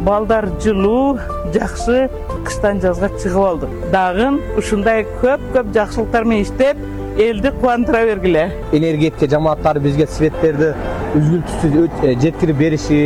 балдар жылуу, жакшы кыштан жазга чыгып алдык. Дагы ушундай көп-көп жакшылыктар менен иштеп, элди кубандыра бергиле. Энергетика жамааттары бизге светтерди үзгүлтүсүз жеткирип бериши,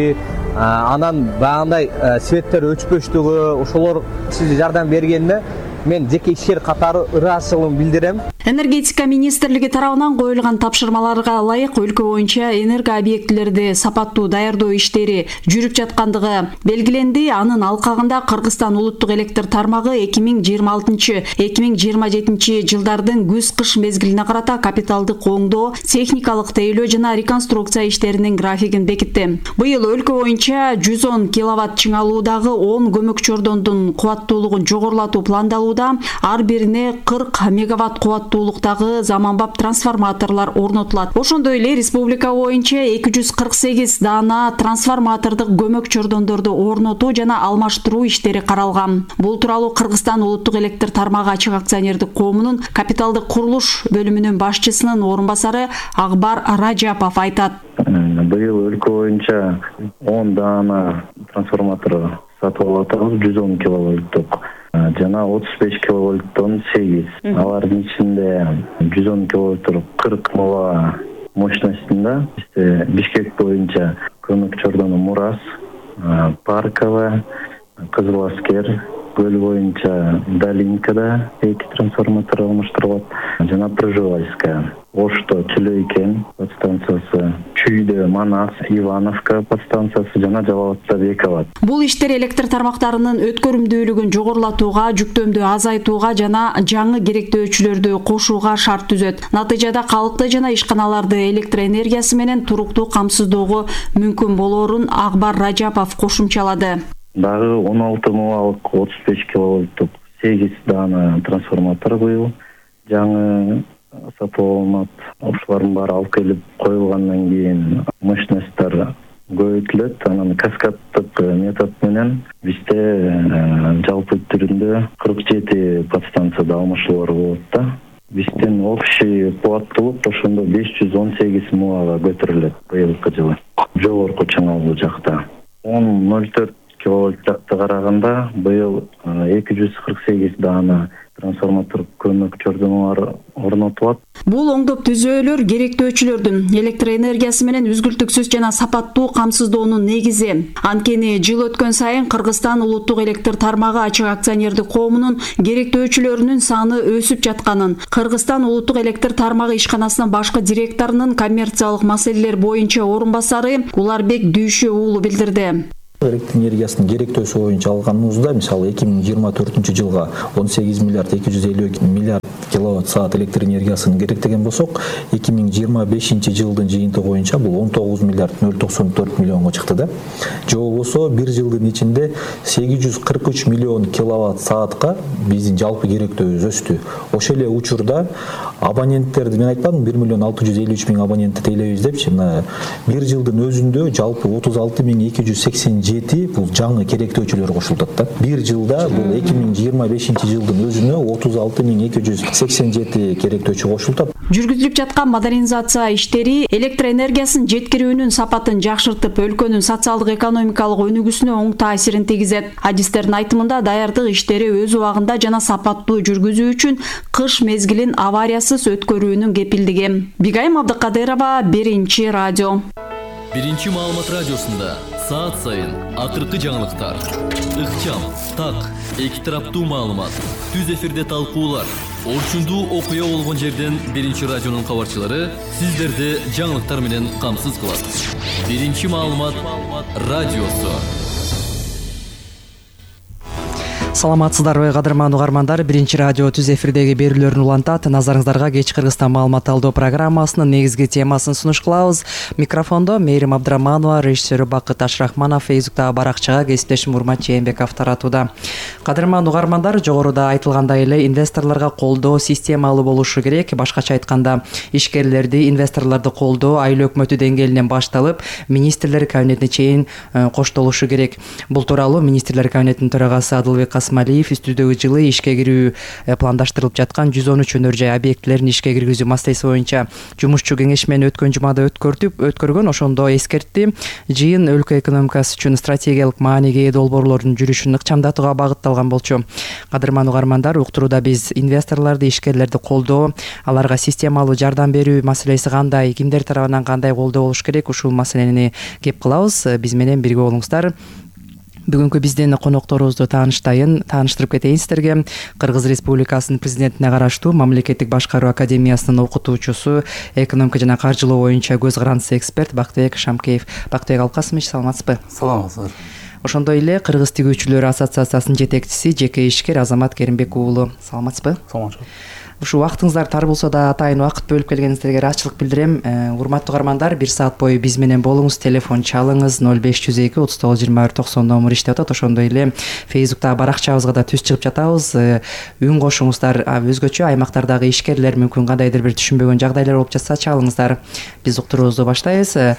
анан баягындай светтер өчпөштүгү, ошолор сизге жардам бергенине мен жеке ишкер катары ыраазычылыгымды билдирем. Энергетика министрлиги тарабынан коюлган тапшырмаларга ылайык өлкө боюнча энерго объектилерди сапаттуу даярдоо иштери жүрүп жаткандыгы белгиленди. Анын алкагында Кыргызстан улуттук электр тармагы эки миң жыйырма алтынчы — эки миң жыйырма жетинчи жылдардын күз-кыш мезгилине карата капиталдык оңдоо, техникалык тейлөө жана реконструкция иштеринин графигин бекитти. Быйыл өлкө боюнча жүз он киловатт чыңалуудагы он көмөк чордондун кубаттуулугун жогорулатуу пландалууда. Ар бирине кырк мегаватт кубаттуулуктагы заманбап трансформаторлор орнотулат. Ошондой эле республика боюнча эки жүз кырк сегиз даана трансформатордук көмөк чордондорду орнотуу жана алмаштыруу иштери каралган. Бул тууралуу Кыргызстан улуттук электр тармагы ачык акционердик коомунун капиталдык курулуш бөлүмүнүн башчысынын орун басары Акбар Ражапов айтат. Быйыл өлкө боюнча он даана трансформатор сатып алып атабыз, жүз он киловольттук жана отуз беш киловольттон сегиз. Алардын ичинде жүз он киловольттук кырк мова мощностунда Бишкек боюнча көмөк чордону Мурас, Парково, Кызыл Аскер, Көл боюнча Долинкада эки трансформатор алмаштырылат жана Пржевальская. Ошто Чилейкен подстанциясы, Чүйдө Манас, Ивановка подстанциясы жана Жалалатта Бековат. Бул иштер электр тармактарынын өткөрүмдүүлүгүн жогорулатууга, жүктөмдү азайтууга жана жаңы керектөөчүлөрдү кошууга шарт түзөт. Натыйжада калкты жана ишканаларды электр энергиясы менен туруктуу камсыздоого мүмкүн болоорун Акбар Ражапов кошумчалады. Дагы он алты мовалык отуз беш киловольттук сегиз даана трансформатор быйыл жаңы сатып алынат. Ошолордун баары алып келип коюлгандан кийин мощностьтор көбөйтүлөт. Анан каскаддык метод менен бизде жалпы түрүндө кырк жети подстанцияда алмашуулар болот да. Биздин общий кубаттуулук ошондо беш жүз он сегиз муага көтөрүлөт быйылкы жылы. Жогорку чыңалуу жакта он ноль төрт киловольт жакты караганда быйыл эки жүз кырк сегиз даана трансформатор көмөкчөрдөн орнотулат. Бул оңдоп түзөөлөр керектөөчүлөрдүн электр энергиясы менен үзгүлтүксүз жана сапаттуу камсыздоонун негизи. Анткени жыл өткөн сайын Кыргызстан улуттук электр тармагы ачык акционердик коомунун керектөөчүлөрүнүн саны өсүп жатканын, Кыргызстан улуттук электр тармагы ишканасынын башкы директорунун коммерциялык маселелер боюнча орун басары Уларбек Дүйшө уулу билдирди. Электр энергиясынын керектөөсү боюнча алганыбызда, мисалы эки миң жыйырма төртүнчү жылга он сегиз миллиард эки жүз элүү миллиард киловатт саат электр энергиясын керектеген болсок, эки миң жыйырма бешинчи жылдын жыйынтыгы боюнча бул он тогуз миллиард ноль токсон төрт миллионго чыкты да. Же болбосо бир жылдын ичинде сегиз жүз кырк үч миллион киловатт саатка биздин жалпы керектөөбүз өстү. Ошол эле учурда абоненттерди мен айтпадым, бир миллион алты жүз элүү үч миң абонентти тейлейбиз депчи. Мына бир жылдын өзүндө жалпы отуз алты миң эки жүз сексен жети бул жаңы керектөөчүлөр кошулат да. Бир жылда бул эки миң жыйырма бешинчи жылдын өзүнө отуз алты миң эки жүз сексен жети керектөөчү кошулат. Жүргүзүлүп жаткан модернизация иштери электр энергиясын жеткирүүнүн сапатын жакшыртып, өлкөнүн социалдык экономикалык өнүгүүсүнө оң таасирин тийгизет. Адистердин айтымында даярдык иштери өз убагында жана сапаттуу жүргүзүү үчүн кыш мезгилин авариясыз өткөрүүнүн кепилдиги. Бигайым Абдыкадырова, Биринчи радио. Биринчи маалымат радиосунда саат сайын акыркы жаңылыктар, ыкчам, так, эки тараптуу маалымат, түз эфирде талкуулар, орчундуу окуя болгон жерден Биринчи радионун кабарчылары сиздерди жаңылыктар менен камсыз кылат. Биринчи маалымат радиосу. Саламатсыздарбы, кадырман угармандар. Биринчи радио түз эфирдеги берүүлөрүн улантат. Назарыңыздарга кеч Кыргызстан маалымат алуу программасынын негизги темасын сунуш кылабыз. Микрофондо Мээрим Абдыраманова, режиссеру Бакыт Ашрахманов, Фейсбуктагы баракчага кесиптешим Урмат Жээнбеков таратууда. Кадырман угармандар, жогоруда айтылгандай эле инвесторлорго колдоо системалуу болушу керек. Башкача айтканда, ишкерлерди, инвесторлорду колдоо айыл өкмөтү деңгээлинен башталып, министрлер кабинетине чейин коштолушу керек. Бул тууралуу министрлер кабинетинин төрагасы Адылбек Асмалиев үстүдөгү жылы ишке кирүү пландаштырылып жаткан жүз он үч өнөр жай объектилерин ишке киргизүү маселеси боюнча жумушчу кеңеш менен өткөн жумада өткөртүп өткөргөн. Ошондо эскертти. Жыйын өлкө экономикасы үчүн стратегиялык мааниге ээ долбоорлордун жүрүшүн ыкчамдатууга багытталган болчу. Кадырман угармандар, уктурууда биз инвесторлорду, ишкерлерди колдоо, аларга системалуу жардам берүү маселеси кандай, кимдер тарабынан кандай колдоо болуш керек, ушул маселени кеп кылабыз. Биз менен бирге болуңуздар. Бүгүнкү биздин конокторубузду тааныштайын, тааныштырып кетейин сиздерге. Кыргыз Республикасынын президентине караштуу Мамлекеттик башкаруу академиясынын окутуучусу, экономика жана каржылоо боюнча көз карандысы эксперт Бактыбек Шамкеев. Бактыбек Алкасымович, саламатсызбы? Саламатсыздар. Ошондой эле Кыргыз тигүүчүлөр ассоциациясынын жетекчиси, жеке ишкер Азамат Керимбек уулу. Саламатсызбы? Саламатчылык. Ушу убактыңыздар тар болсо да атайын убакыт бөлүп келгениңиздерге ыраазычылык билдирем. Урматтуу угармандар, бир саат бою биз менен болуңуз, телефон чалыңыз. ноль беш жүз эки отуз тогуз жыйырма бир токсон номер иштеп атат. Ошондой эле Фейсбуктагы баракчабызга да түз чыгып жатабыз. Үн кошуңуздар. Өзгөчө аймактардагы ишкерлер мүмкүн кандайдыр бир түшүнбөгөн жагдайлар болуп жатса чалыңыздар. Биз уктуруубузду баштайбыз.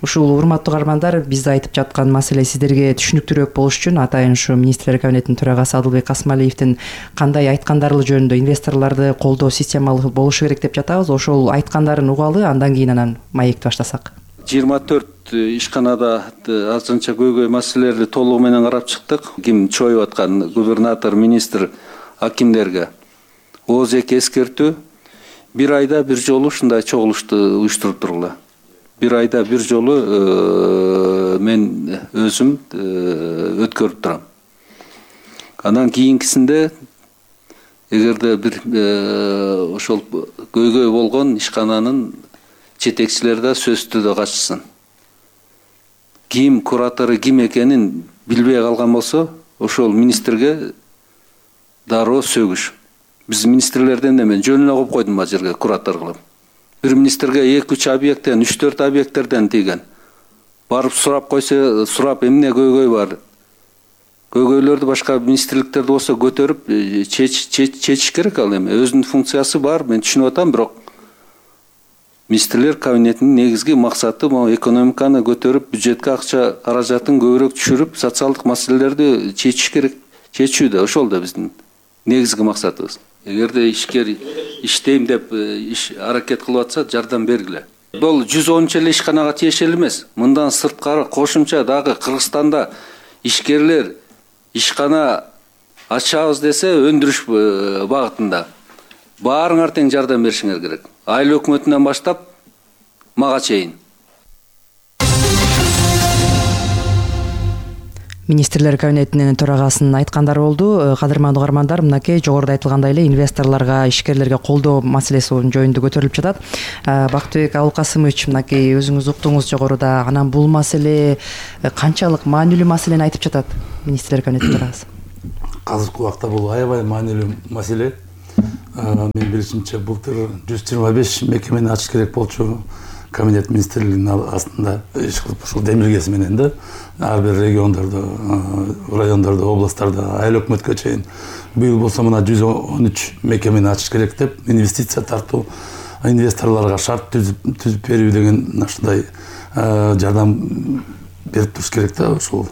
Ушул урматтуу угармандар, биз айтып жаткан маселе сиздерге түшүнүктүүрөөк болуш үчүн атайын ушу министрлер кабинетинин төрагасы Адылбек Асмалиевдин кандай айткандары жөнүндө инвесторлорду колдоо системалуу болушу керек деп жатабыз. Ошол айткандарын угалы, андан кийин анан маекти баштасак. жыйырма төрт ишканада азырынча көйгөй маселелерди толугу менен карап чыктык. Ким чоюп аткан губернатор, министр, акимдерге ооз эки эскертүү. Бир айда бир жолу ушундай чогулушту уюштуруп тургула. Бир айда бир жолу э, мен өзүм э, өткөрүп турам. Анан кийинкисинде эгерде бир э, ошол көйгөй болгон ишкананын жетекчилери да сөздү да катышсын. Ким куратору ким экенин билбей калган болсо, ошол министрге дароо сөгүш. Биз министрлерден да мен жөн эле коюп койдум ал жерге куратор кылып. Бир министрге эки үч объекттен, үч төрт объекттерден тийген. Барып сурап койсо, сурап эмне көйгөй бар. Көйгөйлөрдү башка министрликтерде болсо көтөрүп чечиш керек ал эми. Өзүнүн функциясы бар, мен түшүнүп атам, бирок министрлер кабинетинин негизги максаты могу экономиканы көтөрүп, бюджетке акча каражатын көбүрөөк түшүрүп, социалдык маселелерди чечиш керек. Чечүүдө ошол да биздин негизги максатыбыз. эгерде ишкер иштейм деп иш аракет кылып атса жардам бергиле. Бул жүз онунчу эле ишканага тиешелүү эмес. Мындан сырткары кошумча дагы Кыргызстанда ишкерлер ишкана ачабыз десе өндүрүш багытында баарыңар тең жардам беришиңер керек. Айыл өкмөтүнөн баштап мага чейин. Министрлер кабинетинин төрагасынын айткандары болду. Кадырман угармандар, мынакей жогоруда айтылгандай эле инвесторлорго, ишкерлерге колдоо маселеси жөнүндө көтөрүлүп жатат. Бактыбек Абылкасымович, мынакей өзүңүз уктуңуз жогоруда. Анан бул маселе канчалык маанилүү маселени айтып жатат министрлер кабинетинин төрагасы? Азыркы убакта бул аябай маанилүү маселе. Мен билишимче былтыр жүз жыйырма беш мекемени ачыш керек болчу. Кабинет министрлигинин астында иш кылып ушул демилгеси менен да ар бир региондордо, райондордо, областтарда, айыл өкмөткө чейин. Быйыл болсо мына жүз он үч мекемени ачыш керек деп, инвестиция тартуу, инвесторлорго шарт түзүп берүү деген ушундай жардам берип туруш керек да. Ушул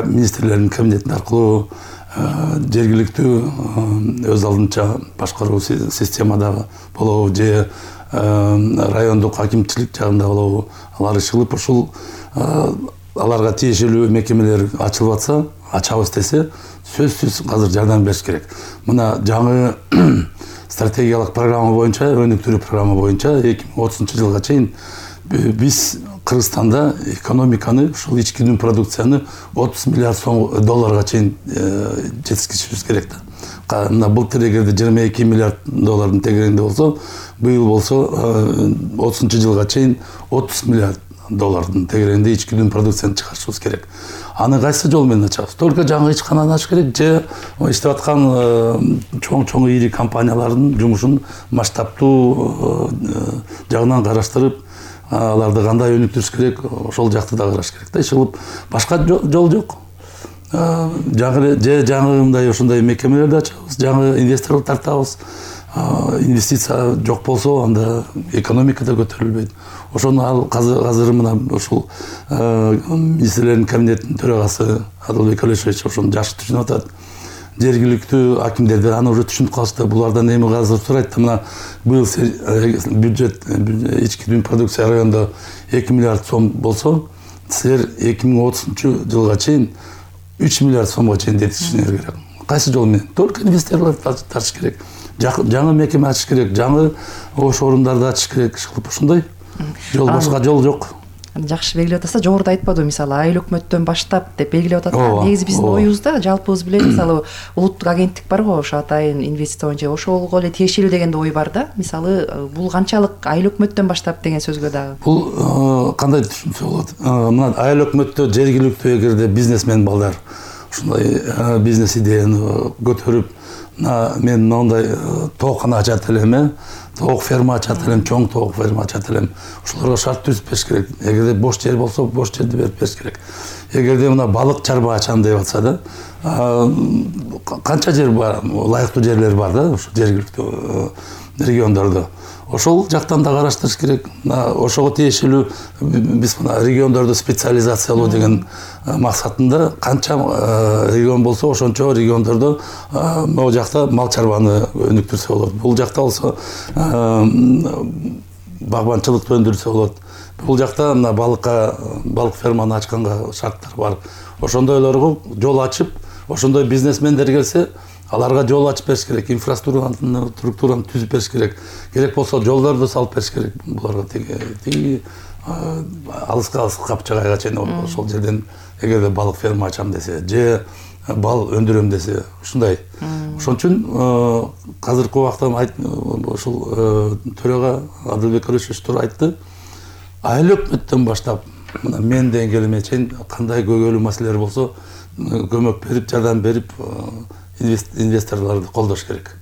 министрлердин кабинети аркылуу жергиликтүү өз алдынча башкаруу системадагы болобу же райондук акимчилик жагында болобу, алар иш кылып ушул аларга тиешелүү мекемелер ачылып атса, ачабыз десе, сөзсүз азыр жардам бериш керек. Мына жаңы стратегиялык программа боюнча, өнүктүрүү программа боюнча эки миң отузунчу жылга чейин биз Кыргызстанда экономиканы, ушул ички дүң продукцияны отуз миллиард сом долларга чейин жеткизишибиз керек да. Мына былтыр эгерде жыйырма эки миллиард доллардын тегерегинде болсо, быйыл болсо отузунчу жылга чейин отуз миллиард доллардын тегерегинде ички дүң продукцияны чыгарышыбыз керек. Аны кайсы жол менен ачабыз? Только жаңы ичкананы ачыш керек же иштеп аткан чоң-чоң ири компаниялардын жумушун масштабтуу жагынан караштырып, аларды кандай өнүктүрүш керек, ошол жакты да караш керек да. Иш кылып башка жол жок. Жаңы же жаңы мындай ошондой мекемелерди ачабыз, жаңы инвесторлор тартабыз. Инвестиция жок болсо, анда экономика да көтөрүлбөйт. Ошону ал азыр мына ушул министрлердин кабинетинин төрагасы Адылбек Алишевич ошону жакшы түшүнүп атат. Жергиликтүү акимдерден аны уже түшүнүп калышты. Булардан эми азыр сурайт да, мына быйыл бюджет ички дүң продукция районунда эки миллиард сом болсо, силер эки миң отузунчу жылга чейин үч миллиард сомго чейин жеткизишиңер керек. Кайсы жол менен? Только инвесторлор тартыш керек. Жаңы мекеме ачыш керек, жаңы ош орундарды ачыш керек. Ушундай жол, башка жол жок. Жакшы белгилеп атасыздар, жогоруда айтпадыбы, мисалы айыл өкмөттөн баштап деп белгилеп атат. Негизи биздин оюбузда жалпыбыз билет, мисалы улуттук агенттик бар го, ошо атайын инвестиция боюнча, ошого эле тиешелүү деген ой бар да. Мисалы бул канчалык айыл өкмөттөн баштап деген сөзгө дагы. Бул кандай түшүнсө болот? Мына айыл өкмөттө жергиликтүү эгерде бизнесмен балдар ушундай бизнес идеяны көтөрүп, мен мындай тоокана ачат элем, тоок ферма ачат элем, чоң тоок ферма ачат элем. Ушуларга шарт түзүп бериш керек. Эгерде бош жер болсо, бош жерди берип бериш керек. Эгерде мына балык чарба ачам деп атса да, канча жер бар, ылайыктуу жерлер бар да, ушу жергиликтүү региондордо. Ошол жактан да караштырыш керек. Ошого тиешелүү биз мына региондорду специализациялоо деген максатында канча регион болсо, ошончо региондордо могу жакта мал чарбаны өнүктүрсө болот. Бул жакта болсо багбанчылыкты өндүрсө болот. Бул жакта мына балыкка, балык ферманы ачканга шарттар бар. Ошондойлорго жол ачып, ошондой бизнесмендер келсе, аларга жол ачып бериш керек, инфраструктураны структураны түзүп бериш керек. Керек болсо жолдорду салып бериш керек. Буларга тиги алыска алыска капчагайга чейин ошол жерден эгерде балык ферма ачам десе, же бал өндүрөм десе, ушундай. Ошон үчүн азыркы убакта ушул төрага Адылбек Алишевич туура айтты. Айыл өкмөттөн баштап мына мен деңгээлиме чейин кандай көйгөйлүү маселелер болсо, көмөк берип, жардам берип инвесторлорду колдош керек.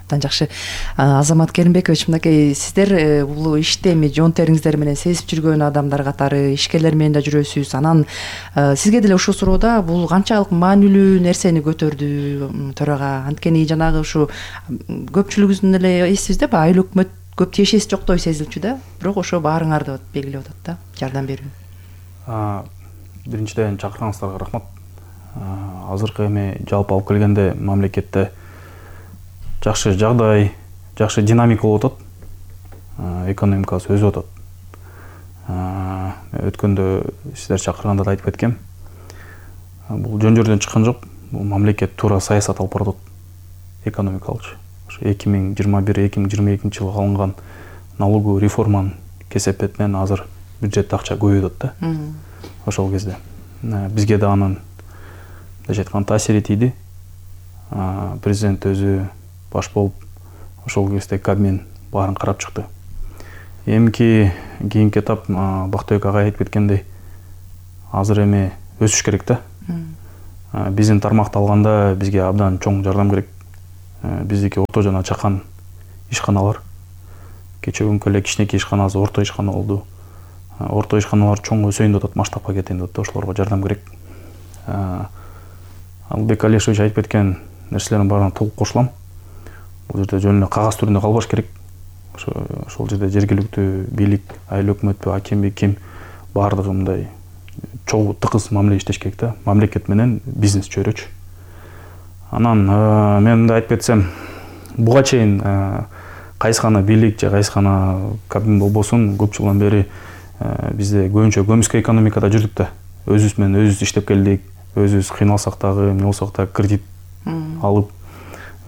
Абдан жакшы. Азамат Керимбекович, мынакей сиздер бул иште эми жон териңиздер менен сезип жүргөн адамдар катары, ишкерлер менен да жүрөсүз. Анан сизге деле ушул суроодо бул канчалык маанилүү нерсени көтөрдү төрага? Анткени жанагы ушу көпчүлүгүбүздүн эле эсибизде айыл өкмөт көп тиешеси жоктой сезилчү да, бирок ошо баарыңарды белгилеп атат да, жардам берүү. Биринчиден чакырганыңыздарга рахмат. Азыркы эми жалпы алып келгенде мамлекетте жакшы жагдай, жакшы динамика болуп атат. Экономикасы өсүп атат. Өткөндө сиздер чакырганда да айтып кеткем. Бул жөн жөрдөн чыккан жок. Бул мамлекет туура саясат алып барат. Экономикалчы. Ошо эки миң жыйырма бир эки миң жыйырма экинчи жылы алынган налоговый реформанын кесепетинен азыр бюджетте акча көбөйүп атат да. Ошол кезде бизге да анын мындайча айтканда таасири тийди. Президент өзү баш болуп ошол кезде Кабмин баарын карап чыкты. Эмки кийинки этап Бактыбек агай айтып кеткендей, азыр эми өсүш керек да. Биздин тармакты алганда бизге абдан чоң жардам керек. Биздики орто жана чакан ишканалар. Кечээ күнкү эле кичинекей ишкана азыр орто ишкана болду. Орто ишканалар чоң өсөйүн деп атат, масштабка кетейин деп атат, ошолорго жардам керек. Албек Алишевич айтып кеткен нерселердин баарына толук кошулам. Бул жерде жөн эле кагаз түрүндө калбаш керек. Ошол жерде жергиликтүү бийлик, айыл өкмөтпү, акимби, ким баардыгы мындай чогуу тыгыз мамиле иштеш керек да. Мамлекет менен бизнес чөйрөчү. Анан мен мындай айтып кетсем, буга чейин кайсы гана бийлик же кайсы гана Кабмин болбосун, көп жылдан бери бизде көбүнчө көмүскө экономикада жүрдүк да. Өзүбүз менен өзүбүз иштеп келдик. Өзүбүз кыйналсак дагы, эмне болсок да кредит алып,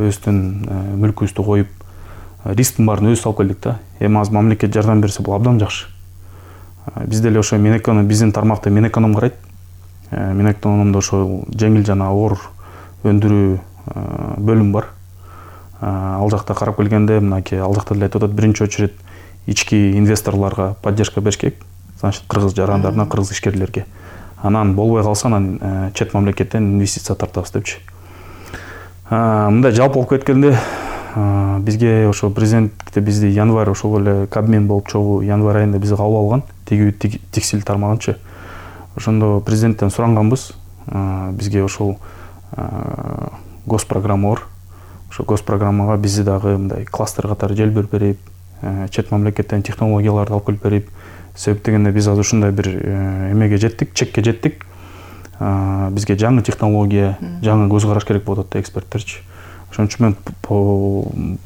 өзүбүздүн мүлкүбүздү коюп, рисктин баарын өзүбүз алып келдик да. Эми азыр мамлекет жардам берсе бул абдан жакшы. Бизде эле ошо Минэконом, биздин тармакты Минэконом карайт. Минэкономдо ошо жеңил жана оор өндүрүү бөлүм бар. Ал жакта карап келгенде, мынакей ал жакта деле айтып атат, биринчи очередь ички инвесторлорго поддержка бериш керек. Значит, кыргыз жарандарына, кыргыз ишкерлерге. Анан болбой калса, анан чет мамлекеттен инвестиция тартабыз депчи. Мындай жалпы болуп кеткенде, бизге ошо президентте бизди январь ошол эле Кабмин болуп чогуу январь айында бизди кабыл алган, тигүү текстиль тармагынчы. Ошондо президенттен суранганбыз, бизге ошол госпрограмма бар. Ошо госпрограммага бизди дагы мындай кластер катары желбир берип, чет мамлекеттен технологияларды алып келип берип, себеп дегенде биз азыр ушундай бир эмеге жеттик, чекке жеттик. Бизге жаңы технология, жаңы көз караш керек болуп атат эксперттерчи. Ошон үчүн мен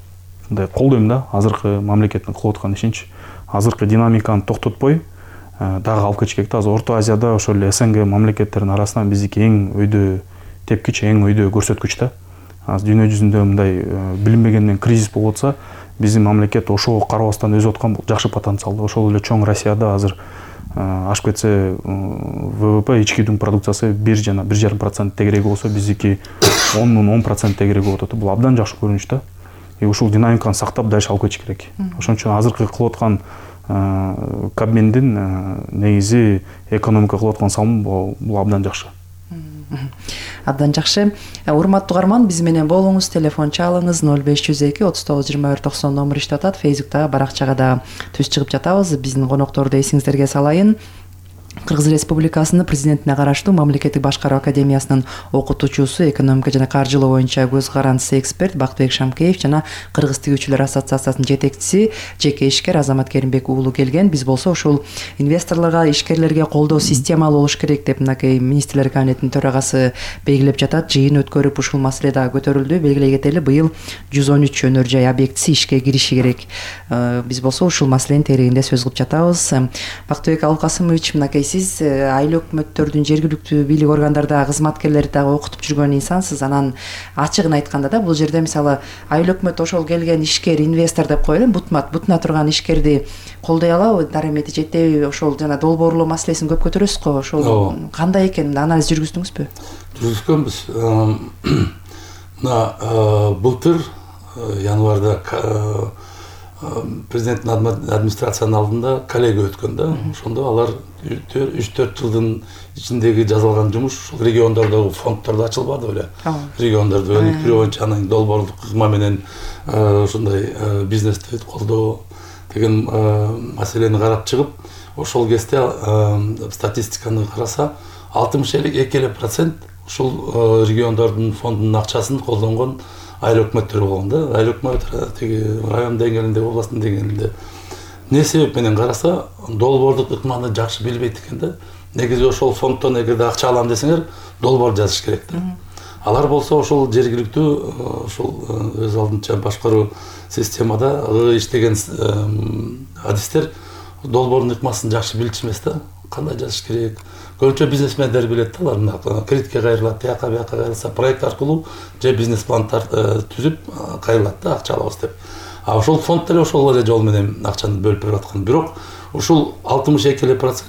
мындай колдойм да, азыркы мамлекеттин кылып аткан ишинчи. Азыркы динамиканы токтотпой, дагы алып кетиш керек да. Азыр Орто Азияда ошол эле СНГ мамлекеттеринин арасынан биздики эң өйдө тепкич, эң өйдө көрсөткүч да. Азыр дүйнө жүзүндө мындай билинбегенден кризис болуп атса, биздин мамлекет ошого карабастан өсүп аткан бул жакшы потенциалды. Ошол эле чоң Россияда азыр ашып кетсе ВВП, ички дүң продукциясы бир жана бир жарым процент тегерек болсо, биздики ондон он процент тегерек болуп атат. Бул абдан жакшы көрүнүш да. И ушул динамиканы сактап дальше алып кетиш керек. Ошон үчүн азыркы кылып аткан Кабминдин негизи экономика кылып аткан салымы бул абдан жакшы. Абдан жакшы. Урматтуу угарман, биз менен болуңуз, телефон чалыңыз ноль беш жүз эки отуз тогуз жыйырма бир токсон номер иштеп атат. Фейсбуктагы баракчага да түз чыгып жатабыз. Биздин конокторду эсиңиздерге салайын. Кыргыз Республикасынын президентине караштуу Мамлекеттик башкаруу академиясынын окутуучусу, экономика жана каржылоо боюнча көз карандысы эксперт Бактыбек Шамкеев жана Кыргыз тигүүчүлөр ассоциациясынын жетекчиси, жеке ишкер Азамат Керимбек уулу келген. Биз болсо ушул инвесторлорго, ишкерлерге колдоо системалуу болуш керек деп мынакей министрлер кабинетинин төрагасы белгилеп жатат. Жыйын өткөрүп ушул маселе да көтөрүлдү. Белгилей кетели, быйыл жүз он үч өнөр жай объектиси ишке кириши керек. Биз болсо ушул маселенин тереңинде сөз кылып жатабыз. Бактыбек Алкасымович, мынакей сиз айыл өкмөттөрдүн, жергиликтүү бийлик органдарда кызматкерлерди дагы окутуп жүргөн инсансыз. Анан ачыгын айтканда да, бул жерде мисалы айыл өкмөт ошол келген ишкер, инвестор деп коелу, бутмат бутуна турган ишкерди колдой алабы, дарамети жетеби, ошол жана долбоорлоо маселесин көп көтөрөсүз го. Ошол кандай экен, анализ жүргүздүңүзбү? Жүргүзгөнбүз. Мына былтыр январда президенттин администрациянын алдында коллега өткөн да. Ошондо алар үч төрт жылдын ичиндеги жасалган жумуш ушул региондордогу фонддордо ачылбады беле. Региондорду өнүктүрүү боюнча анын долбоорлук кызма менен ушундай бизнести колдоо деген маселени карап чыгып, ошол кезде статистиканы караса алтымыш эки эле процент ушул региондордун фондунун акчасын колдонгон айыл өкмөттөр болгон да. Айыл өкмөт тиги район деңгээлинде, областтын деңгээлинде. Не себеп менен караса, долбоорлук ыкманы жакшы билбейт экен да. Негизи ошол фонддон эгерде акча алам десеңер, долбоор жазыш керек да. Алар болсо ошол жергиликтүү ошол өз алдынча башкаруу системада иштеген адистер долбоордун ыкмасын жакшы билчү эмес да, кандай жазыш керек. Көбүнчө бизнесмендер билет да, алар мына кредитке кайрылат, тияка бияка кайрылса проект аркылуу же бизнес план түзүп кайрылат да, акча алабыз деп. А ошол фонд деле ошол эле жол менен акчаны бөлүп берип аткан. Бирок ушул алтымыш эки эле процент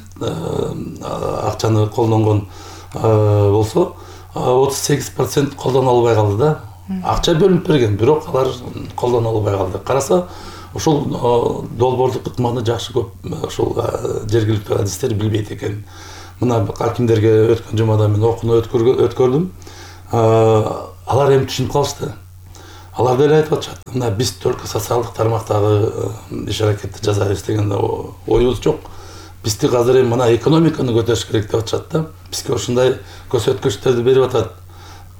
акчаны колдонгон болсо, отуз сегиз процент колдоно албай калды да. Акча бөлүнүп берген, бирок алар колдоно албай калды. Караса ошол долбоордук ыкманы жакшы көп ошол жергиликтүү адистер билбейт экен. Мына акимдерге өткөн жумада мен окууну өткөрдүм. Алар эми түшүнүп калышты. Алар деле айтып атышат, мына биз только социалдык тармактагы иш аракетти жасайбыз деген оюбуз жок. Бизди азыр эми мына экономиканы көтөрүш керек деп атышат да. Бизге ошондой көрсөткүчтөрдү берип атат.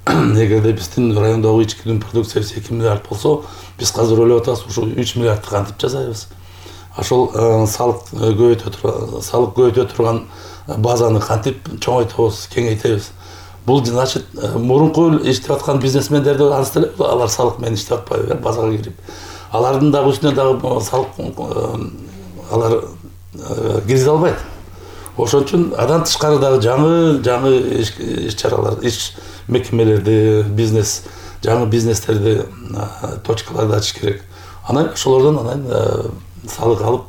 Эгерде биздин райондогу ички дүң продукциябыз эки миллиард болсо, биз азыр ойлоп атабыз, ушу үч миллиардты кантип жасайбыз. Ошол салык көбөйтө турган, салык көбөйтө турган базаны кантип чоңойтобуз, кеңейтебиз. Бул значит мурунку иштеп аткан бизнесмендерди анысы деле алар салык менен иштеп атпайбы, базага кирип. Алардын дагы үстүнө дагы салык алар киргизе албайт. Ошон үчүн адан тышкары дагы жаңы жаңы иш-чаралар, иш мекемелерди, бизнес, жаңы бизнестерди, точкаларды ачыш керек. Анан ошолордон анан салык алып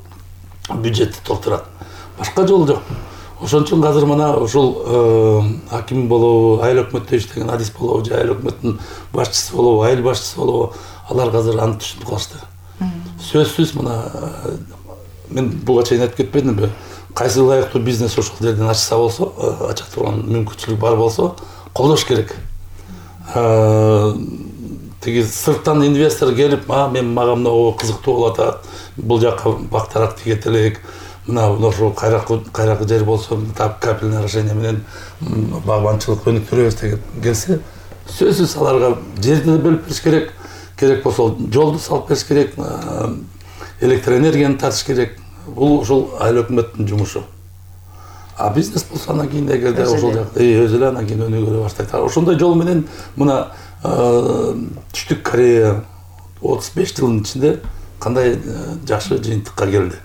бюджетти толтурат. Башка жол жок. Ошон үчүн азыр мына ушул аким болобу, айыл өкмөттө иштеген адис болобу, же айыл өкмөттүн башчысы болобу, айыл башчысы болобу, алар азыр аны түшүнүп калышты. Сөзсүз мына мен буга чейин айтып кетпедимби? Кайсы ылайыктуу бизнес ошол жерден ачса болсо, ача турган мүмкүнчүлүк бар болсо, колдош керек. Тиги сырттан инвестор келип, "А, мен мага мына кызыктуу болуп атат, бул жакка бактарак тигет элек, мына ошо кайракы кайракы жер болсо, тап капитальный орошение менен багбанчылык өнүктүрөбүз" деген келсе, сөзсүз аларга жерди бөлүп бериш керек. Керек болсо жолду салып бериш керек, электроэнергияны тартыш керек. Бул ошол айыл өкмөттүн жумушу. А бизнес болсо анан кийин эгерде ошол жакта өз эле анан кийин өнүгө баштайт. Ошондой жол менен мына Түштүк Корея отуз беш жылдын ичинде кандай жакшы жыйынтыкка келди.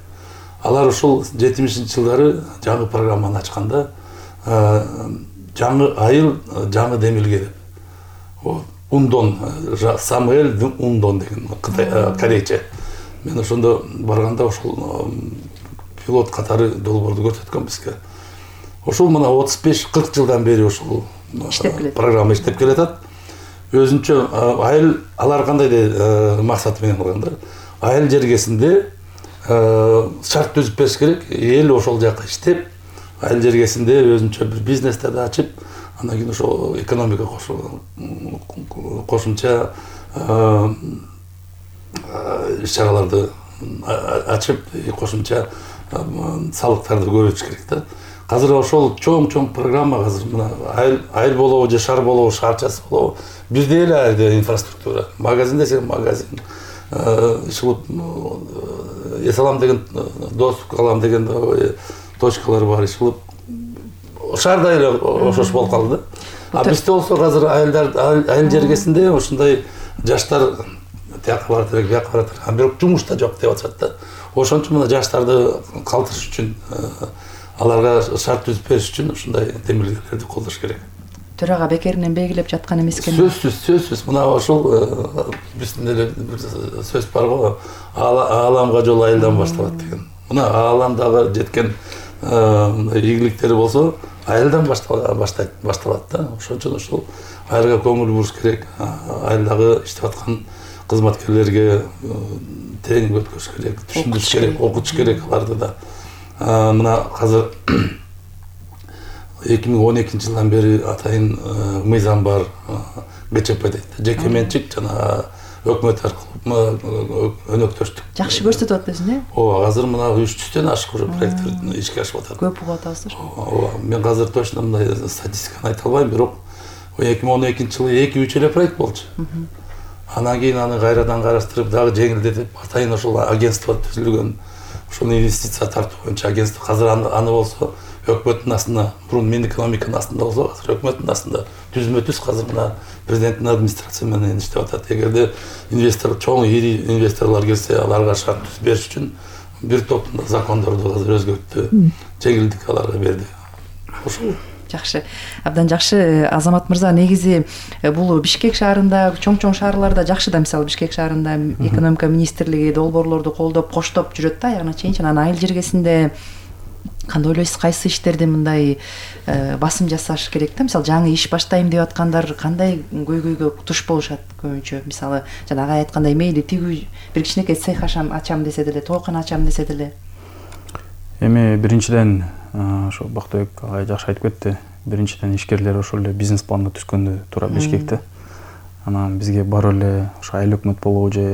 Алар ошол жетимишинчи жылдары жаңы программаны ачканда, жаңы айыл, жаңы демилге деп. Ундон, Самуэль Ундон деген корейче. Мен ошондо барганда ошол пилот катары долбоорду көрсөткөм бизге. Ошол мына отуз беш кырк жылдан бери ошол программа иштеп келатат. Өзүнчө айыл, алар кандай максаты менен кылганда, айыл жергесинде шарт түзүп бериш керек. Эл ошол жакка иштеп, айыл жергесинде өзүнчө бир бизнестерди ачып, андан кийин ошол экономика кошумча иш-чараларды ачып, кошумча салыктарды көбөйтүш керек да. Азыр ошол чоң-чоң программа азыр мына айыл айыл болобу же шаар болобу, шаарчасы болобу, бирдей эле инфраструктура. Магазин десең магазин, ишилип Эсалам деген, Достук алам деген точкалар бар, ишилип шаарда эле ошош болуп калды да. А бизде болсо азыр айылдар айыл жергесинде ошондой жаштар тияка барат элек, бияка барат элек, бирок жумушта жок деп атышат да. Ошон үчүн мына жаштарды калтырыш үчүн, аларга шарт түзүп бериш үчүн ушундай демилгелерди колдош керек. Төрага бекеринен белгилеп жаткан эмес экен. Сөзсүз, сөзсүз. Мына ошол биздин эле сөз бар го, ааламга жол айылдан башталат деген. Мына ааламдагы жеткен ийгиликтери болсо, айылдан башталат башталат да. Ошон үчүн ошол айылга көңүл буруш керек. Айылдагы иштеп аткан кызматкерлерге тең өткөрүш керек, түшүндүрүш керек, окутуш керек аларды да. Мына азыр эки миң он экинчи жылдан бери атайын мыйзам бар, ГЧП дейт. Жеке менчик жана өкмөт аркылуу өнөктөштүк. Жакшы көрсөтүп атасың, э? Ооба, азыр мына үч жүздөн ашык уже проекттер ишке ашып атат. Көп угуп атасыздар. Ооба, мен азыр точно мындай статистиканы айта албайм, бирок эки миң он экинчи жылы эки үч эле проект болчу. Анан кийин аны кайрадан караштырып, дагы жеңилдетип, атайын ошол агентство түзүлгөн. Ошол инвестиция тартуу боюнча агентство. Азыр аны болсо өкмөттүн астында, мурун Минэкономиканын астында болсо, азыр өкмөттүн астында түзмө түз азыр мына президенттин администрация менен иштеп атат. Эгерде инвестор, чоң ири инвесторлор келсе, аларга шарт түзүп бериш үчүн бир топ закондорду азыр өзгөрттү, жеңилдик аларга берди. Ошол жакшы, абдан жакшы. Азамат мырза, негизи бул Бишкек шаарында, чоң-чоң шаарларда жакшы да, мисалы Бишкек шаарында экономика министрлиги долбоорлорду колдоп, коштоп жүрөт да, аягына чейинчи. Анан айыл жергесинде кандай ойлойсуз, кайсы иштерде мындай басым жасаш керек да? Мисалы жаңы иш баштайм деп аткандар кандай көйгөйгө туш болушат көбүнчө? Мисалы жана ага айткандай, мейли тигүү бир кичинекей цех ачам десе деле, тоокана ачам десе деле. Эми биринчиден ошо Бактыбек агай жакшы айтып кетти. Биринчиден ишкерлер ошол эле бизнес планды түзгөндө туура Бишкекте. Анан бизге барып эле ошо айыл өкмөт болобу же